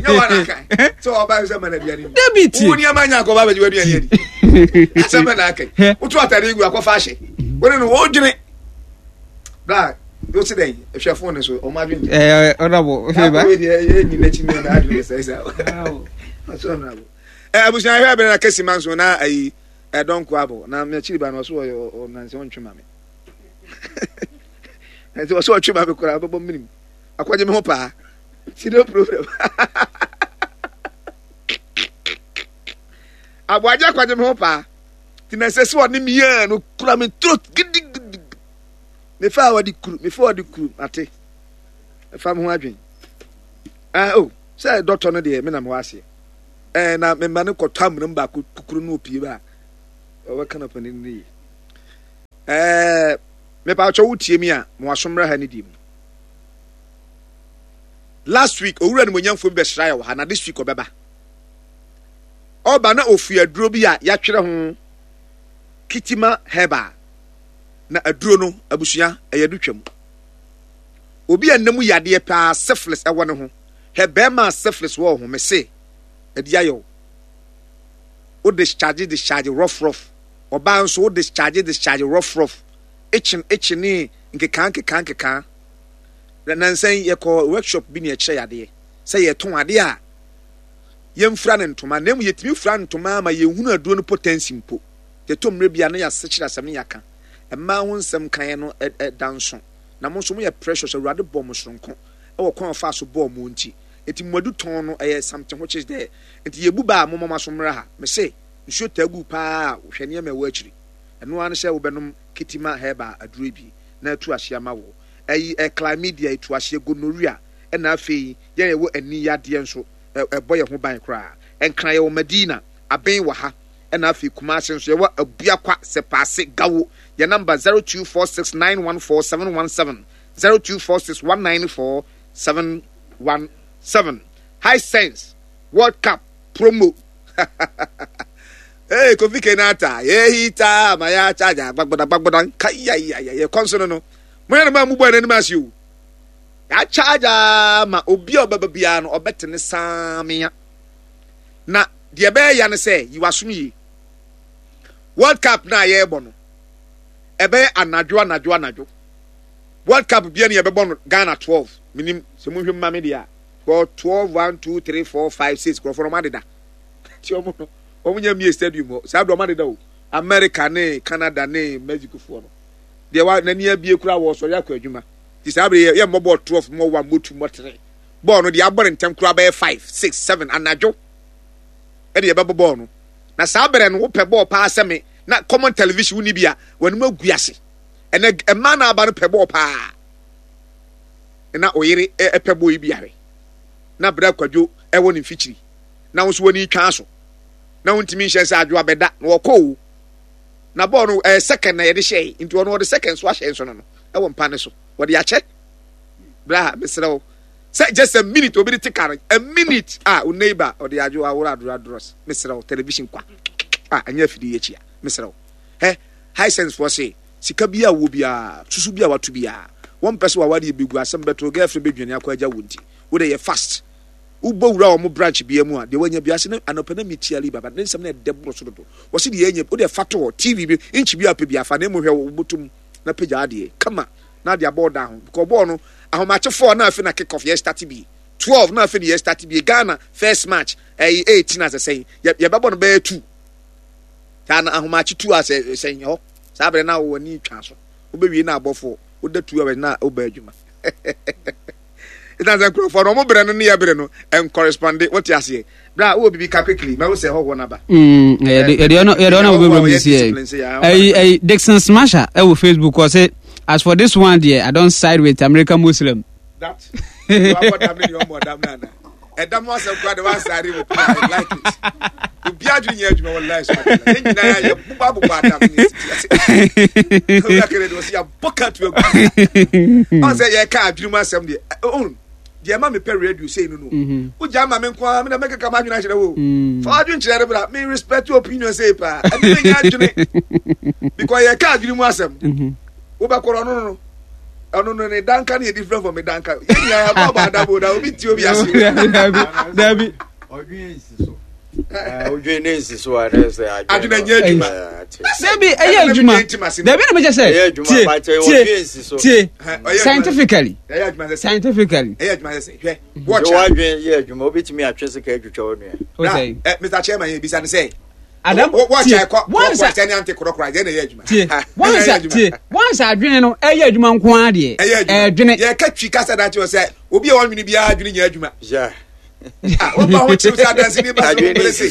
Nyɛ wɔn aka sɛ ɔba sɛ mana aduane ni. Dabi tie. Wo nneɛma nya akɔba abɛgye w'aduane adi. Asɛm bɛ na aka yi. Wotu atade gu akɔfa ahyɛ. Wɔne no wɔdwene. Bra o ti dɛn hwɛ fon ne so ɔmo adwene. Ɛɛ ɔnabɔ. Akɔwe deɛ ɛyɛ nyina akyi mi na adwene sɛ sɛ. Ɔsɛ ɔnabɔ. Ɛ abusua hwɛ abɛn na kɛse ma nso na ayi ɛdɔnko abɔ na mɛkyiri ba no ɔso ɔyɛ ɔnansɛ ɔntwe ma me. Ɛnti ɔsɛ ɔtwe ma me koraa bɛbɔ minim. Akɔgye me ho paa. Ti no problem. Aboagye akɔgye me ho paa. Ti na ɛsɛ sɛ ɔne me yɛ no kura me throat gidigidi. Mefa a wɔde kuru, mefa a wɔde kuru, mate. Fa me ho adwen. Ah, oh, sɛ dɔtɔ no deɛ me na mewɔ aseɛ. Eh, na mema no kɔtɔ amena mu baako kukuru no opie ba a, ɔbɛka no panin no yie. Eh, mepa kyɛ wo tie mi a, mo aso mmra ha ne die mu. Last week, owura nimonyamfoɔ bi bɛsra yɛ wɔ ha, na this week ɔbɛba. Ɔba na ofiri aduro bi a yɛatwerɛ ho Kitima Herbal. Na aduro no, abusua, ɛyɛ do twam. Obi a nna mu yadeɛ paa syphilis ɛwɔ ne ho. Hwɛ bɛɛma a syphilis wɔ wo ho, mese, ɛdi ayɛ wo. Wo discharge discharge rough rough. Ɔbaa nso wo discharge discharge rough rough. Itching itching ne nkekaa nkekaa nkekaa. Na nansa yi yɛkɔ workshop bi ne yɛkyerɛ yadeɛ sɛ yɛtɔn adeɛ a yɛmfura no ntoma na mmom yɛtumi fura ntoma ma yɛhunu aduro no potency mpo. Yɛtɔ mmerɛ bi a na yɛasekyerɛ asɛm ne yɛaka. Mmaa ho nsɛm kaeɛ no da nso. Na mo nso moyɛ precious, Awurade bɔɔ mo soronko wɔ kwan a ɔfaa so bɔɔ mo nti. Nti mo adu tɔn no ɛyɛ something which is there. Nti yɛbu ba a momma mo aso mmra ha. Mese nsuo taa gu paa a hwɛ nneɛma ɛwɔ akyiri. Ɛno ara ne sɛ wobɛnom Kitima herbal aduro yi bi na atu aseɛ ama wo. Ɛyi ɛ chlamydia ɛtu aseɛ, gonorrhea ɛna afei yɛn a yɛwɔ ani yadeɛ nso ɛbɔ yɛn ho ban koraa. Nkran yɛwɔ Madina, Aben wɔ ha ɛna afei Kumasi nso yɛwɔ Abuakwa, Sɛpaase, Gawo. Yɛn number 0246914717, 0246194717. Hisense World Cup promo. Hey, Kofi Kenata, yehita maya chaja gbagboda gbagboda nkayayaya yɛ kɔnso no no. Mo yɛ no ma mu bɔ n'anim ase o. Ya charge ma obi a ɔbɛba biara no ɔbɛte ne saamea. Na deɛ ɛbɛyɛ ya ne sɛ yi w'asom yie. World Cup no a yɛrebɔ no, ɛbɛyɛ anadwo anadwo anadwo. World Cup bia ne yɛbɛbɔ no Ghana 12. Menim sɛ monhwɛ mu ma me deɛ a. Kɔ 12 1 2 3 4 5 6 nkurɔfoɔ no ɔmo adeda. Nti ɔmo no ɔmo nya mie stadium hɔ. Saa berɛ ɔmo adeda o. America ne Canada ne Mexico foɔ no. Deɛ wa n'ani abie koraa wɔsɔre akɔ adwuma. Nti saa berɛ yɛ yɛmmɔ bɔɔl 12 mmɔ 1 mmɔ 2 mmɔ 3. Bɔɔl no deɛ abɔ ne ntɛm koraa bɛyɛ 5 6 7 anadwo ɛde yɛbɛbɔ bɔɔl no. Na saa berɛ no wopɛ bɔɔl paa sɛ me na common television wonni bi a w'anim agu ase. Ɛnɛ mmaa na aba no pɛ bɔɔl paa. Na ɔyere ɛpɛ bɔɔl yi bi ahwɛ. Na berɛ akwadwo ɛwɔ ne mfikyiri. Na wo nso w'ani twa so. Na wontumi nhyɛ sɛ adwo abɛda na wɔkɔ o. Na bɔɔl no ɛyɛ second na yɛde hyɛe nti ɔno ɔde second so ahyɛ nso no no ɛwɔ mpa ne so. Wɔde akyɛ. Bra mesrɛ wo sɛ just a minute obi de te car a minute a wo neighbor ɔde adwo aworo adoro adoro mesrɛ wo television kwa a ɛnyɛ afidie yɛ akyi a mesrɛ wo hɛ Hisense foɔ se sika bi a wɔ biara susu bi a wato biara wɔn pɛ sɛ waware yɛ bɛgu asɛm bɛto girlfriend bɛdwane akɔ agya wo nti wo de yɛ fast wobɔ wura wɔn branch bia mu a deɛ wanya bi ase ne anɔpɛ na metia li baba ne nsɛm na ɛdɛ boro so dodo wɔse deɛ ɛnyɛ wo deɛ fa to hɔ TV bi inch bi a pɛ bi afa na emu hwɛ wo bɔtom na pagya adeɛ kama na ade abɔ ɔdan ho because bɔɔl no ahomakye 4 na afei na kick off yɛ start bi 12 na afei na yɛ start bi Ghana first match ɛyi 18 asɛ sɛn yɛbɛbɔ no bɛyɛ 2 saa na ahomakye 2 asɛ sɛn hɔ saa bere na wɔ ani twa so wobɛwie na abɔfoɔ woda 2 hours na wobɛ adwuma ɛsiane sɛ nkurɔfoɔ no ɔmo berɛ no ne yɛ berɛ no ɛnkɔrespɔnde wote aseɛ berɛ a wowɔ biribi ka quickly mahu sɛ hɔhoɔ no aba yɛde ɔna wobɛwura mu sisi ɛyi ɛyi Dixon Smasher ɛwɔ Facebook ɔse as for this one deɛ I don't side with American Muslim. That wabɔ dam ne deɛ ɔmmɔ dam no ana ɛdam ho asɛm koraa de wansare wɔ pii I like it obi adwene nyɛ adwuma wɔ life so yɛn nyinaa yɛ bobɔ abobɔ adam ne titi ase owura kere de ɔsi abɔ ka tu agu ɔn sɛ yɛka adwene mu asɛm deɛ ɔn deɛ ɛma mepɛ radio sei no no mhm. wogya ma me nko ara mena mɛkeka m'adwene akyerɛ wo mm. fa w'adwene kyerɛ no bra me respect your opinion sei paa ɛne menya adwene because yɛka adwene mu asɛm mhm. wobɛkɔrɔ no no ɔno no ne danka no yɛ different from me danka yɛn nyinaa yɛabɔ abɔ adabo na obi ti obi ase. dabi. ɔdwen nsi so ɔdwen ne nsi so a ne sɛ adwene nyɛ adwuma. dabi ɛyɛ adwuma dabi na mekyɛ sɛ tie tie tie scientifically scientifically. ɛyɛ adwuma sɛ hwɛ wɔkyɛ. wadwen yɛ adwuma obetumi atwe sika atwitwa wo nua. Mr Chairman yɛ bisa ne sɛ. Adam tie once tie once tie once adwene no ɛyɛ adwuma nko ara deɛ ɛdwene. Yɛ ka twi kasa da kyerɛ sɛ obi a ɔnwene biara adwene nyɛ adwuma. Wɔba ho kyerɛ sɛ adansi ni ba so wɔn se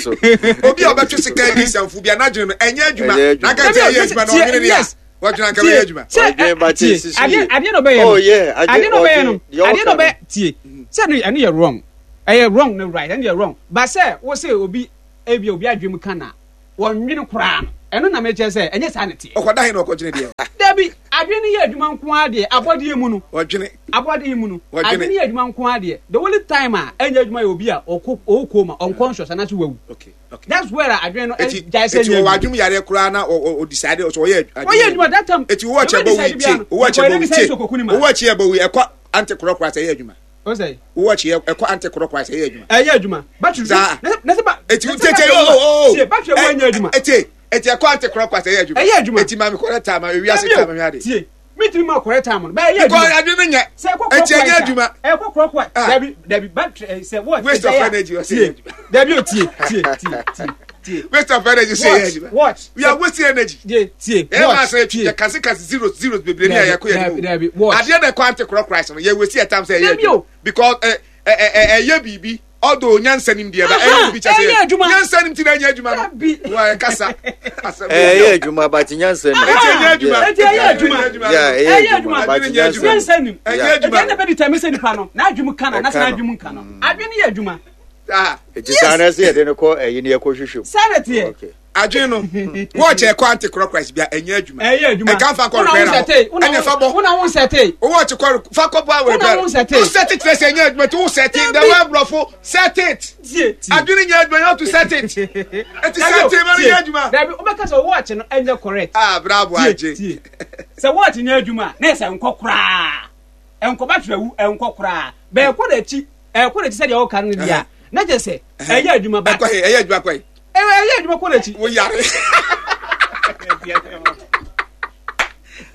obi a ɔbɛtwe sika adi nsɛmfo bi a n'adwene no ɛnyɛ adwuma n'aka kyerɛ ɛyɛ adwuma na ɔnwene deɛ. Wɔdwene anka bɛyɛ adwuma. Sɛ tie adeɛ adeɛ na ɔbɛyɛ no. Oh yeah, adeɛ na ɔbɛyɛ no. Adeɛ na ɔbɛyɛ tie. Sɛ ɛno ɛno yɛ wrong. Ɛyɛ wrong no right ɛno yɛ wrong. Ba sɛ wo sɛ obi ebi obi adwene mu ka na wɔnwene koraa no ɛno na mekyerɛ sɛ ɛnyɛ saa na teɛ. Ɔkɔda he na ɔkɔdwene deɛ? Dabi, adwene no yɛ adwuma nko ara deɛ abɔdeɛ mu no. Ɔdwene. Abɔdeɛ mu no. Adwene no yɛ adwuma nko ara deɛ. The only time a ɛnyɛ adwuma yɛ obi a ɔkɔ ɔwɔ coma, unconscious anaasɛ wawu. Okay. Okay. That's where adwene no Eti gyae sɛ eti ɛnyɛ ɔwɔ adwuma. adwene yareɛ koraa na ɔ ɔ ɔdecide ɔsɛ ɔyɛ adwene. Ɔyɛ adwuma that time. Eti owó ɔkyɛ bɔ wi tie owó ɔkyɛ bɔ wi tie owó ɔkyɛ bɔ wi ɛkɔ ante korɔ koraa sɛ ɛyɛ adwuma. Ɔsɛ. Owó ɔkyɛ ɛkɔ ante korɔ koraa sɛ ɛyɛ adwuma. Ɛyɛ adwuma. Battery. Saa. Na sɛ ba. Eti tie tie o o o. Tie battery ɛwɔ ɛnyɛ adwuma. Eti eti ɛkɔ ante korɔ koraa sɛ ɛyɛ adwuma. Ɛyɛ adwuma. Eti maame kɔrɛ taa ma ewi ase taa ma mi ade. Tie. Mitumi ma correct time no. Bɛyɛ adwuma. Because adwene no nyɛ. Sɛ ɛkɔ Eti ɛnyɛ adwuma. Ɛkɔ korɔ korɔ. Ah. Dabi dabi battery eh, sɛ watch. Waste of energy ɔsɛ ɛyɛ adwuma. Dabi o tie tie tie tie tie. Waste of energy sɛ ɛyɛ adwuma. Watch. We are wasting energy. Tie tie watch. Ɛyɛ maa sɛ yɛ kasi kasi zeros zeros bebree ni a yɛ kɔ yɛ ni mu. Watch. Adeɛ na ɛkɔ ante korɔ korɔ no yɛ waste yɛ time sɛ ɛyɛ adwuma. Because ɛ ɛ ɛyɛ biribi although nyansa nim deɛ ba ɛyɛ obi kyɛ sɛ ɛyɛ adwuma nyansa nim ti na ɛnyɛ adwuma no wa ɛkasa asɛm ɛyɛ adwuma but nyansa nim ɛti ɛnyɛ adwuma ɛti ɛyɛ adwuma ɛyɛ adwuma but nyansa nim ɛnyɛ adwuma ɛti ɛna bɛ determine sɛ nipa no n'adwuma ka no anasɛ n'adwuma nka no adwene yɛ adwuma. Eti saa na ɛsɛ yɛde no kɔ ɛyi ni ɛkɔ hwehwɛ mu. Saa na teɛ. Adwene no wɔɔkyɛ ɛkɔ ante clockwise bia ɛnyɛ adwuma. Ɛyɛ adwuma. Ɛka nfa kɔ repair hɔ. Ɛna fa bɔ. Wona wo nsɛte. Wɔɔkye kɔ fa kɔ bɔ awɔ repair. Wona wo nsɛte. Wo sɛte kyerɛ sɛ ɛnyɛ adwuma ti wo sɛte the way aborɔfo set it. Adwene nyɛ adwuma you have to set it. Eti sɛte ma no nyɛ adwuma. Dabi wobɛka sɛ wɔɔkye no ɛnyɛ correct. Ah bravo agye. Sɛ wɔɔkye nyɛ adwuma na ɛsɛ nkɔ koraa. Nkɔ battery awu nkɔ koraa. Bɛɛkɔ n'akyi. Ɛkɔ n'akyi sɛdeɛ ɔka no deɛ a na kyerɛ sɛ ɛyɛ adwuma ba. Ɛkɔ he ɛyɛ adwuma kɔ he. Ɛyɛ adwuma kɔ n'akyi. Wo yare.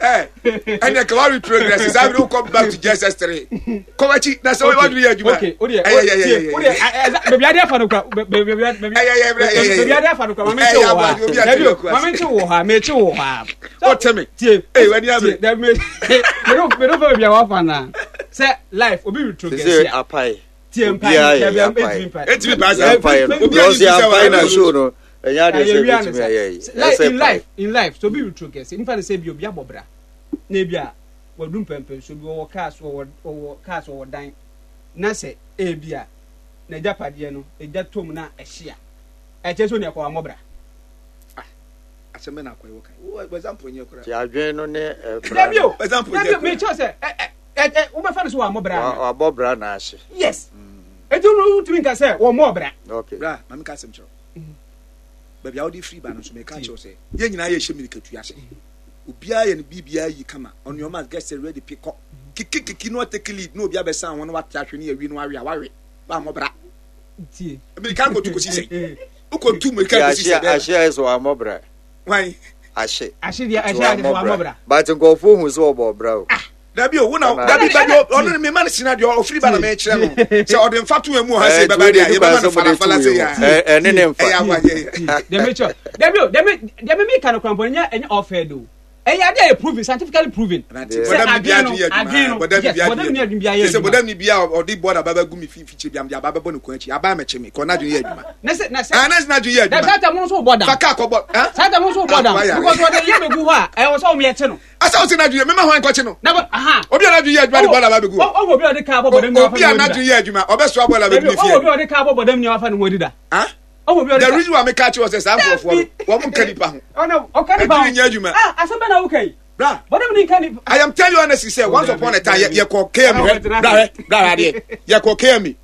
Ɛnna kama we progress saa bi wokɔ back to JSS 3 kɔ w'akyi na sɛ wadwene yɛ adwuma. Okay o deɛ o deɛ o deɛ baabi ade afa no kura baabi baabi ade afa no kura maame nkye wɔ hɔ a dabi o maame nkye wɔ hɔ a mekye wɔ hɔ a. O tɛ mi tie ee wani abiri. Dabi me me do fɛ baabi a wafa na sɛ life obi retrogress a. Sise apae. Tie mpae obiara yɛ apae. Etimi pae sa. Apae no. Obiara Because ampae na show no. Ɛnyɛ adeɛ sɛ ebetumi ayɛ yi. Life in life in life so obi retrogress nfa ne sɛ bi obi abɔ bra na ebi a wadu mpɛmpɛnso bi wɔwɔ cars wɔwɔ wɔwɔ cars wɔwɔ dan na sɛ ebi a n'agyapadeɛ no egya tom na ɛhye a ɛkyɛ sɛ onua kɔ wamɔ bra. Ah, asɛm bɛ na akɔ ɛwɔ kan. Wo example nyɛ kora. Ti adwene no ne ɛbra. Dabi o. Example nyɛ Dabi o kora. mekyɛw sɛ ɛ ɛ ɛ ɛ wobɛfa no so wammɔ bra anaa? Wabɔ bra na ahye. Yes. Eti no wotumi nka sɛ wɔmmɔɔ bra. Okay. Bra, ma menka asɛm kyerɛ wo. Baabi a wode firi ba no nso meka kyerɛ wo sɛ yɛn nyinaa yɛhyɛ mirikatu ase. Obiara yɛ ne biribiara yi kama. On your mark, get set, ready, pick up. Kiki kiki na watake lead na obi abɛsan ho na wate ahwe ne awi na wawe a wawe. Wammɔ bra. Tie. Mirika no kɔtu kɔsi sɛn? Wokɔtu mirika kɔsi sɛ dɛn? Ahye ayɛ sɛ wammɔ bra. Hwan? Ahye. Ahye deɛ ahye ayɛ sɛ wammɔ bra. But nkurɔfoɔ hu sɛ ɔbɔ bra o. Ah. Dabi o, wo na dabi dabi ɔno ne mema no sina deɛ ɔfiri ba na mekyerɛ no sɛ ɔde mfa to emu ɔha sɛ bɛba deɛ yɛbɛma no falafala sɛ yɛ ɛne ne mfa ɛyɛ aboagye deɛ mekyerɛ dabi o deɛ deɛ me meka no korampɔ ɛnyɛ ɛnyɛ ɔfɛ do ɛyɛ adeɛ yɛ proven scientifically proven sɛ adwene no adwene no yes bɔdam ni adwene bi ayɛ adwuma sɛ bɔdam ni bi a ɔde bɔda ba bɛgu mi fikyire bi am de aba bɛbɔ ne kɔn akyi aba mɛkye me kɔn n'adwene yɛ adwuma na sɛ na sɛ ah na sɛ n'adwene yɛ adwuma saa tɛm nso bɔ dam fa kaa kɔ bɔ ah saa tɛm nso bɔ dam because ɔde yɛ bɛgu hɔ a ɛwɔ sɛ ɔmo yɛ kye no Asa ɔsi n'adwene yɛ mema hwan nkɔkye no. Na bɔ aha. Obi a n'adwene yɛ adwuma de bɔɔl aba abɛgu hɔ. Ɔwɔ obi a ɔde kaa bɔ bɔdam ni wafa ne ho adida. Obi a n'adwene yɛ adwuma ɔbɛsoa bɔɔl abɛgu ne fie. Ɔwɔ obi a ɔde kaa bɔ bɔdam ni wafa ne ho adida. Ah? Ɔwɔ obi a ɔde The reason why meka kyerɛ sɛ saa nkurɔfoɔ no wɔn nka nipa ho. Ɔna ɔka nipa ho. Adwene nyɛ adwuma. Ah asɛm bɛ na woka yi. Bra. Bɔdam ni nka nipa. I am telling you honestly sɛ once upon a time yɛ kɔ KMI hwɛ bra hwɛ bra hwɛ adeɛ yɛ kɔ KMI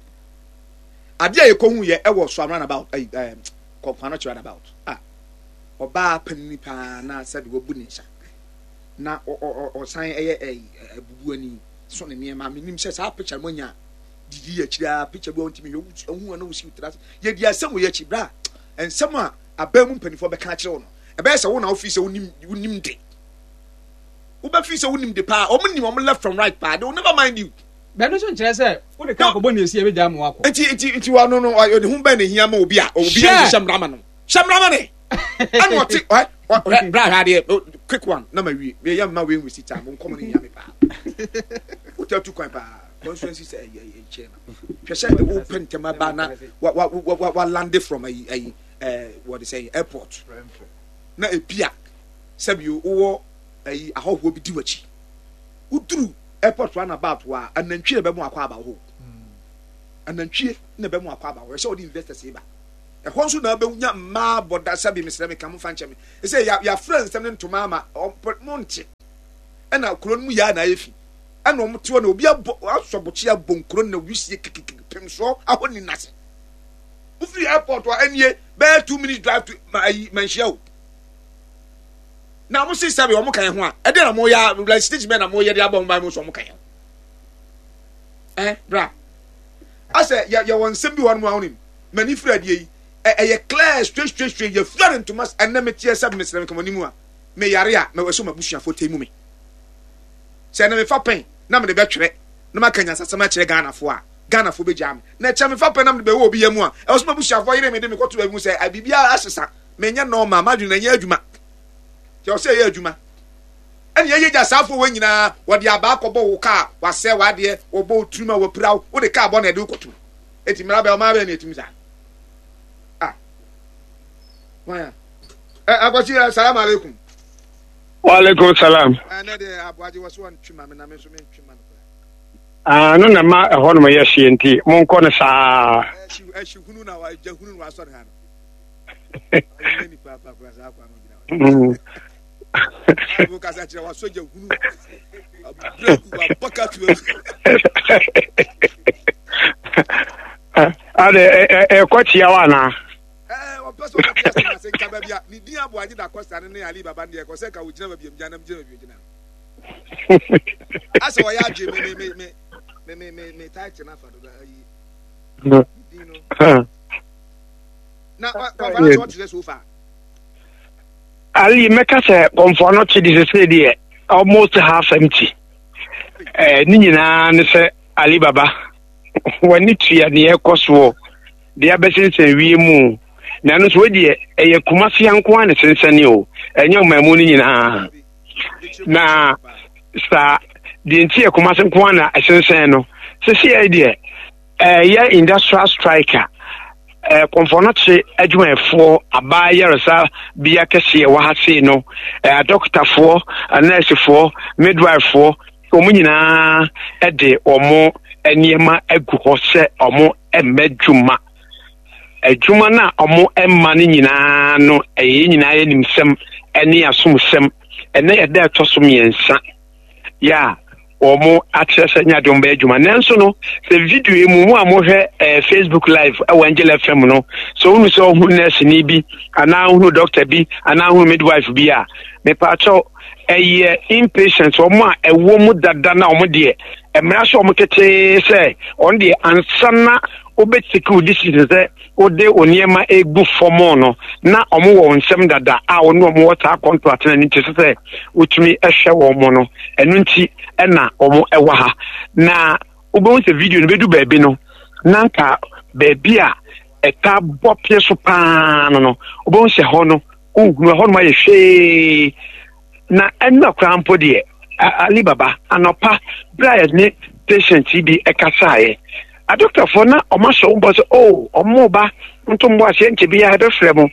adeɛ a yɛ kɔ hu yɛ ɛwɔ so round about ɛyi ɛɛ kɔnkɔn round about ah ɔbaa panyin paa na sɛbi wabu ne nsa. na ɔsan yɛ abubuani so ne nneɛma menim sɛ saa picture mo anya didi akyiri a picture bi a ɔntumi hwɛ wohu a na wosi wotra ase yɛdi asɛm wɔ yɛakyi bra nsɛm a abaa mu mpanimfoɔ bɛka akyerɛ wo no ɛbɛyɛ sɛ wo na wofii sɛ wonim wonim de wobɛfii sɛ wonim de paa wɔn nim wɔn left from right paa they will never mind you bɛno nso nkyerɛ sɛ wode ka akɔbɔ ne ɛsi ɛbɛgya ma wakɔ nti nti nti wa no no ɔde ho bɛn na hia ma obi a obi a nhyehyɛ mmara ma no hyɛ mmara ma ne ɛna ɔte ɔhɛ ɔhɛ bra hwɛ adeɛ quick one na ma wie meyɛ mma wei nwesi time nkɔmɔ no hia me paa wotɛ tu kwan paa constituency sɛ ɛyɛ ɛyɛ chairman hwɛ sɛ ɛwɔ pɛ ntɛm aba na wa wa wa wa lande from ayi ayi ɛɛ wɔde sɛ airport na ebia sɛbi wowɔ. ayi ahɔhoɔ bi di w'akyi. Woduru airport roundabout hɔ a, anantwie na ɛbɛmo akɔ aba hɔ. Anantwie na ɛbɛmo akɔ aba hɔ. Ɛsɛ wɔde investors ba. Ɛhɔ nso na abɛnya mmaa bɔda sɛbi mesrɛ me ka mo fa nkyɛ me. Ɛsɛ yɛafrɛ nsɛm ne ntoma ama mo nte. Ɛna kuro no mu yɛ a na ayɛ fi. Ɛna wɔn te hɔ na obi abɔ asɔ bɔkye abɔ nkuro na wisie kikikiki pemsoɔ ahɔ ni nase. Wofiri airport a ɛnie bɛyɛ 2 minutes drive to ma ayi manhyia o. Na mo se sɛbi wɔn kan ho a ɛdeɛ na mo yɛ like stage bɛn na mo yɛ de abɔ ho ban mo so wɔn kan ho. Ɛn bra asɛ yɛ yɛ wɔ nsɛm bi wɔ nom a wɔnim mani firi adeɛ yi ɛyɛ clear straight straight straight yɛ fira ne ntoma ɛnɛ me teɛ sɛbi mesrɛ me kama nimu a me yare a mɛ ɛso ma busuafo tɛ mu me sɛ ɛnɛ mefa pɛn na mede bɛtwerɛ na maka nyansasɛm akyerɛ Ghanafoɔ a Ghanafoɔ bɛgyaa me na ɛkyɛ mefa pɛn na mede bɛwɔ obi yɛ mu a ɛwɔ so ma busuafoɔ yere me de me kɔto baabi mu sɛ biribiara asesa menyɛ normal madwene na ɛnyɛ adwuma kyɛ ɔsɛ ɛyɛ adwuma ɛne ɛyɛ gya saafoɔ wɔ nyinaa wɔde abaa kɔbɔ wo kaa wasɛ w'adeɛ wɔbɔ wo tirim a wɔpira wo wode kaa bɔ na ɛde wo kɔto eti mmara bɛ ɔmaa bɛ na ɛtumi saa ah wɔn a ɛ akwasi ɛ salam aleikum. Wa alaikum salam. Ɛnɛ deɛ aboagye wɔ so wɔn twi ma me na me nso me ntwi ma no koraa. Ah, no na ma ɛhɔ nom yɛ hyeɛ nti monkɔ no saa. Ɛhyi ɛhyi hunu na wa gya hunu na wasɔ ne ha no. Ade ɛkɔ tia wa anaa? Ɔpɛ sɛ ɔbɛte ase na ase nka baabi a ne din aboagye da kɔsta no ne Ali Baba no deɛ ɛkɔ sɛ nka wogyina baabi a mgyina na mgyina baabi ogyina. Asɛ ɔyɛ adwe me me me me me me me title no afa do ayi ne din no. Na kɔnfa no kyɛ ɔte sɛ so far. Ali mɛka sɛ kɔnfa no kye de sese deɛ almost half empty. Eh, ne nyinaa ne sɛ Ali Baba w'ani tua deɛ ɛkɔ soɔ deɛ abɛsensɛn wie mu na ɛno nso deɛ ɛyɛ Kumasi nko ara na sensɛne o ɛnyɛ ɔman mu no nyinaa na saa deɛ nti yɛ Kumasi nko ara na ɛsensɛn no sisi yɛ deɛ ɛyɛ industrial strike a kɔnfɔnɔkye adwumayɛfoɔ abaa yaresa bea kɛseɛ wɔ ha sei no adɔkotafoɔ, anɛɛsefoɔ, midwifefoɔ wɔn nyinaa de wɔn nneɛma agu hɔ sɛ wɔn mma adwuma. Adwuma no a wɔn mma no nyinaa no ɛyɛ yɛn nyinaa yɛ nimsɛm ne asomsɛm. Ɛnɛ yɛ da ɛtɔ so mmiɛnsa. yɛ a wɔn akyerɛ sɛ nyɛ adeɛ wɔn bɛyɛ adwuma nanso no sɛ video yi mu mo a mohwɛ ɛɛ eh, facebook live ɛwɔ angel fm no sɛ wohunu sɛ ɔhunu nurse ni bi anaa wohunu doctor bi anaa wohunu midwife bi a mepaakyɛw ɛyɛ inpatient wɔn a ɛwɔ mu dada na wɔn deɛ mmara so wɔn ketee sɛ wɔn deɛ ansa na wobɛtake wo decision sɛ wode wo nneɛma egu fam no, na wɔn wɔ wo nsam dada a wo ne wɔn wɔ saa contract no, ɛno nti ɛsɛ sɛ wotumi hwɛ wɔn no, ɛno nti ɛna wɔn ɛwɔ ha. Na wobɛhu sɛ video no bɛdu baabi no, na nka baabi a ɛta bɔ pie so paa no no, wobɛhu sɛ hɔ no, wohunu ɛhɔ nom ayɛ hwee. Na ɛnna koraa mpo deɛ, Ali Baba, anɔpa berɛ a yɛne patient yi bi kasaeɛ, adɔktafoɔ na wɔn ahyɛ wɔn bɔ sɛ, oh, wɔn ba nto mbɔ aseɛ nkyɛ biara yɛbɛfrɛ mo.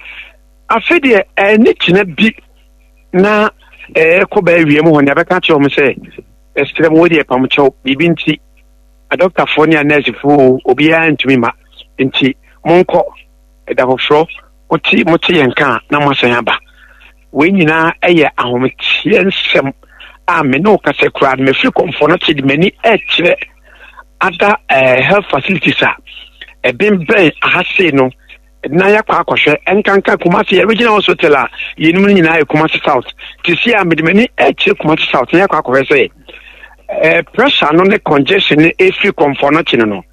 Afei deɛ ɛne kyena bi na ɛrekɔ bɛɛ awia mu hɔ ne abɛka akyerɛ wɔn sɛ, ɛsrɛ mo wei deɛ pam kyɛw, biribi nti adɔktafoɔ ne anɛɛsefoɔ obiara ntumi ma nti monkɔ ɛda foforɔ mote mote yɛn ka a na moasan aba. Wei nyinaa yɛ ahometeɛ nsɛm a me ne wo kasa koraa no mefiri kɔmfoɔ no te de m'ani ɛkyerɛ ada eh, health facilities a ɛbɛnbɛn aha sei no na yɛakɔ akɔhwɛ nkanka Kumasi yɛ regional hospital a yɛnum no nyinaa yɛ Kumasi South te si a mede m'ani ɛkyerɛ Kumasi South na yɛakɔ akɔhwɛ sɛ eh, pressure no ne congestion no ɛfiri kɔmfoɔ no kye no no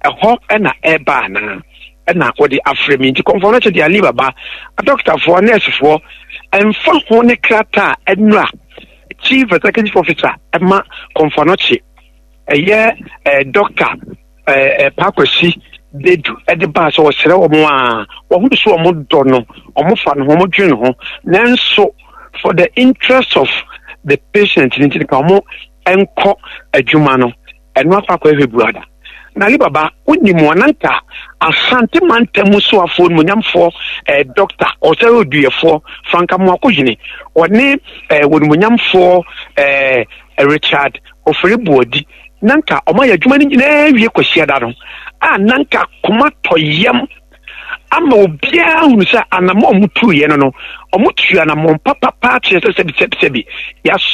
Ɛhɔ na ɛreba anaa? Ɛna wɔde afrɛ me nti kɔmfoɔ no kyɛ deɛ Ali Baba, adɔkotafoɔ, nɛɛsefoɔ, ɛmfa ho ne krataa a ɛnura Chief Executive Officer ɛma kɔmfoɔ no kye ɛyɛ ɛɛ dɔkta ɛɛ Pakwasi Bedu ɛde baa sɛ ɔsrɛ wɔn a wɔn so wɔn dɔ no, wɔn fa no ho, wɔn dwene ho, nanso for the interest of the patient ne nti ka wɔn nkɔ adwuma no ɛno akɔ akɔhwɛ buada. Na Ali Baba, wonim wɔn, na nka Asante mantam mu soafoɔ onimonyamfoɔ eh, Dɔkta Ɔsɛe Oduyɛfoɔ Frank Amoakohene, ɔne eh, onimonyamfoɔ eh, Richard Ofori Boadi, na nka wɔn ayɛ adwuma no nyinaa wie Kwasiada no, a na nka koma tɔ yam ama obiara hunu sɛ anamɔ a wɔtuiɛ no no, wɔtu anamɔn papapa kyerɛ sɛ sɛbi sɛbi sɛbi yɛasɔ.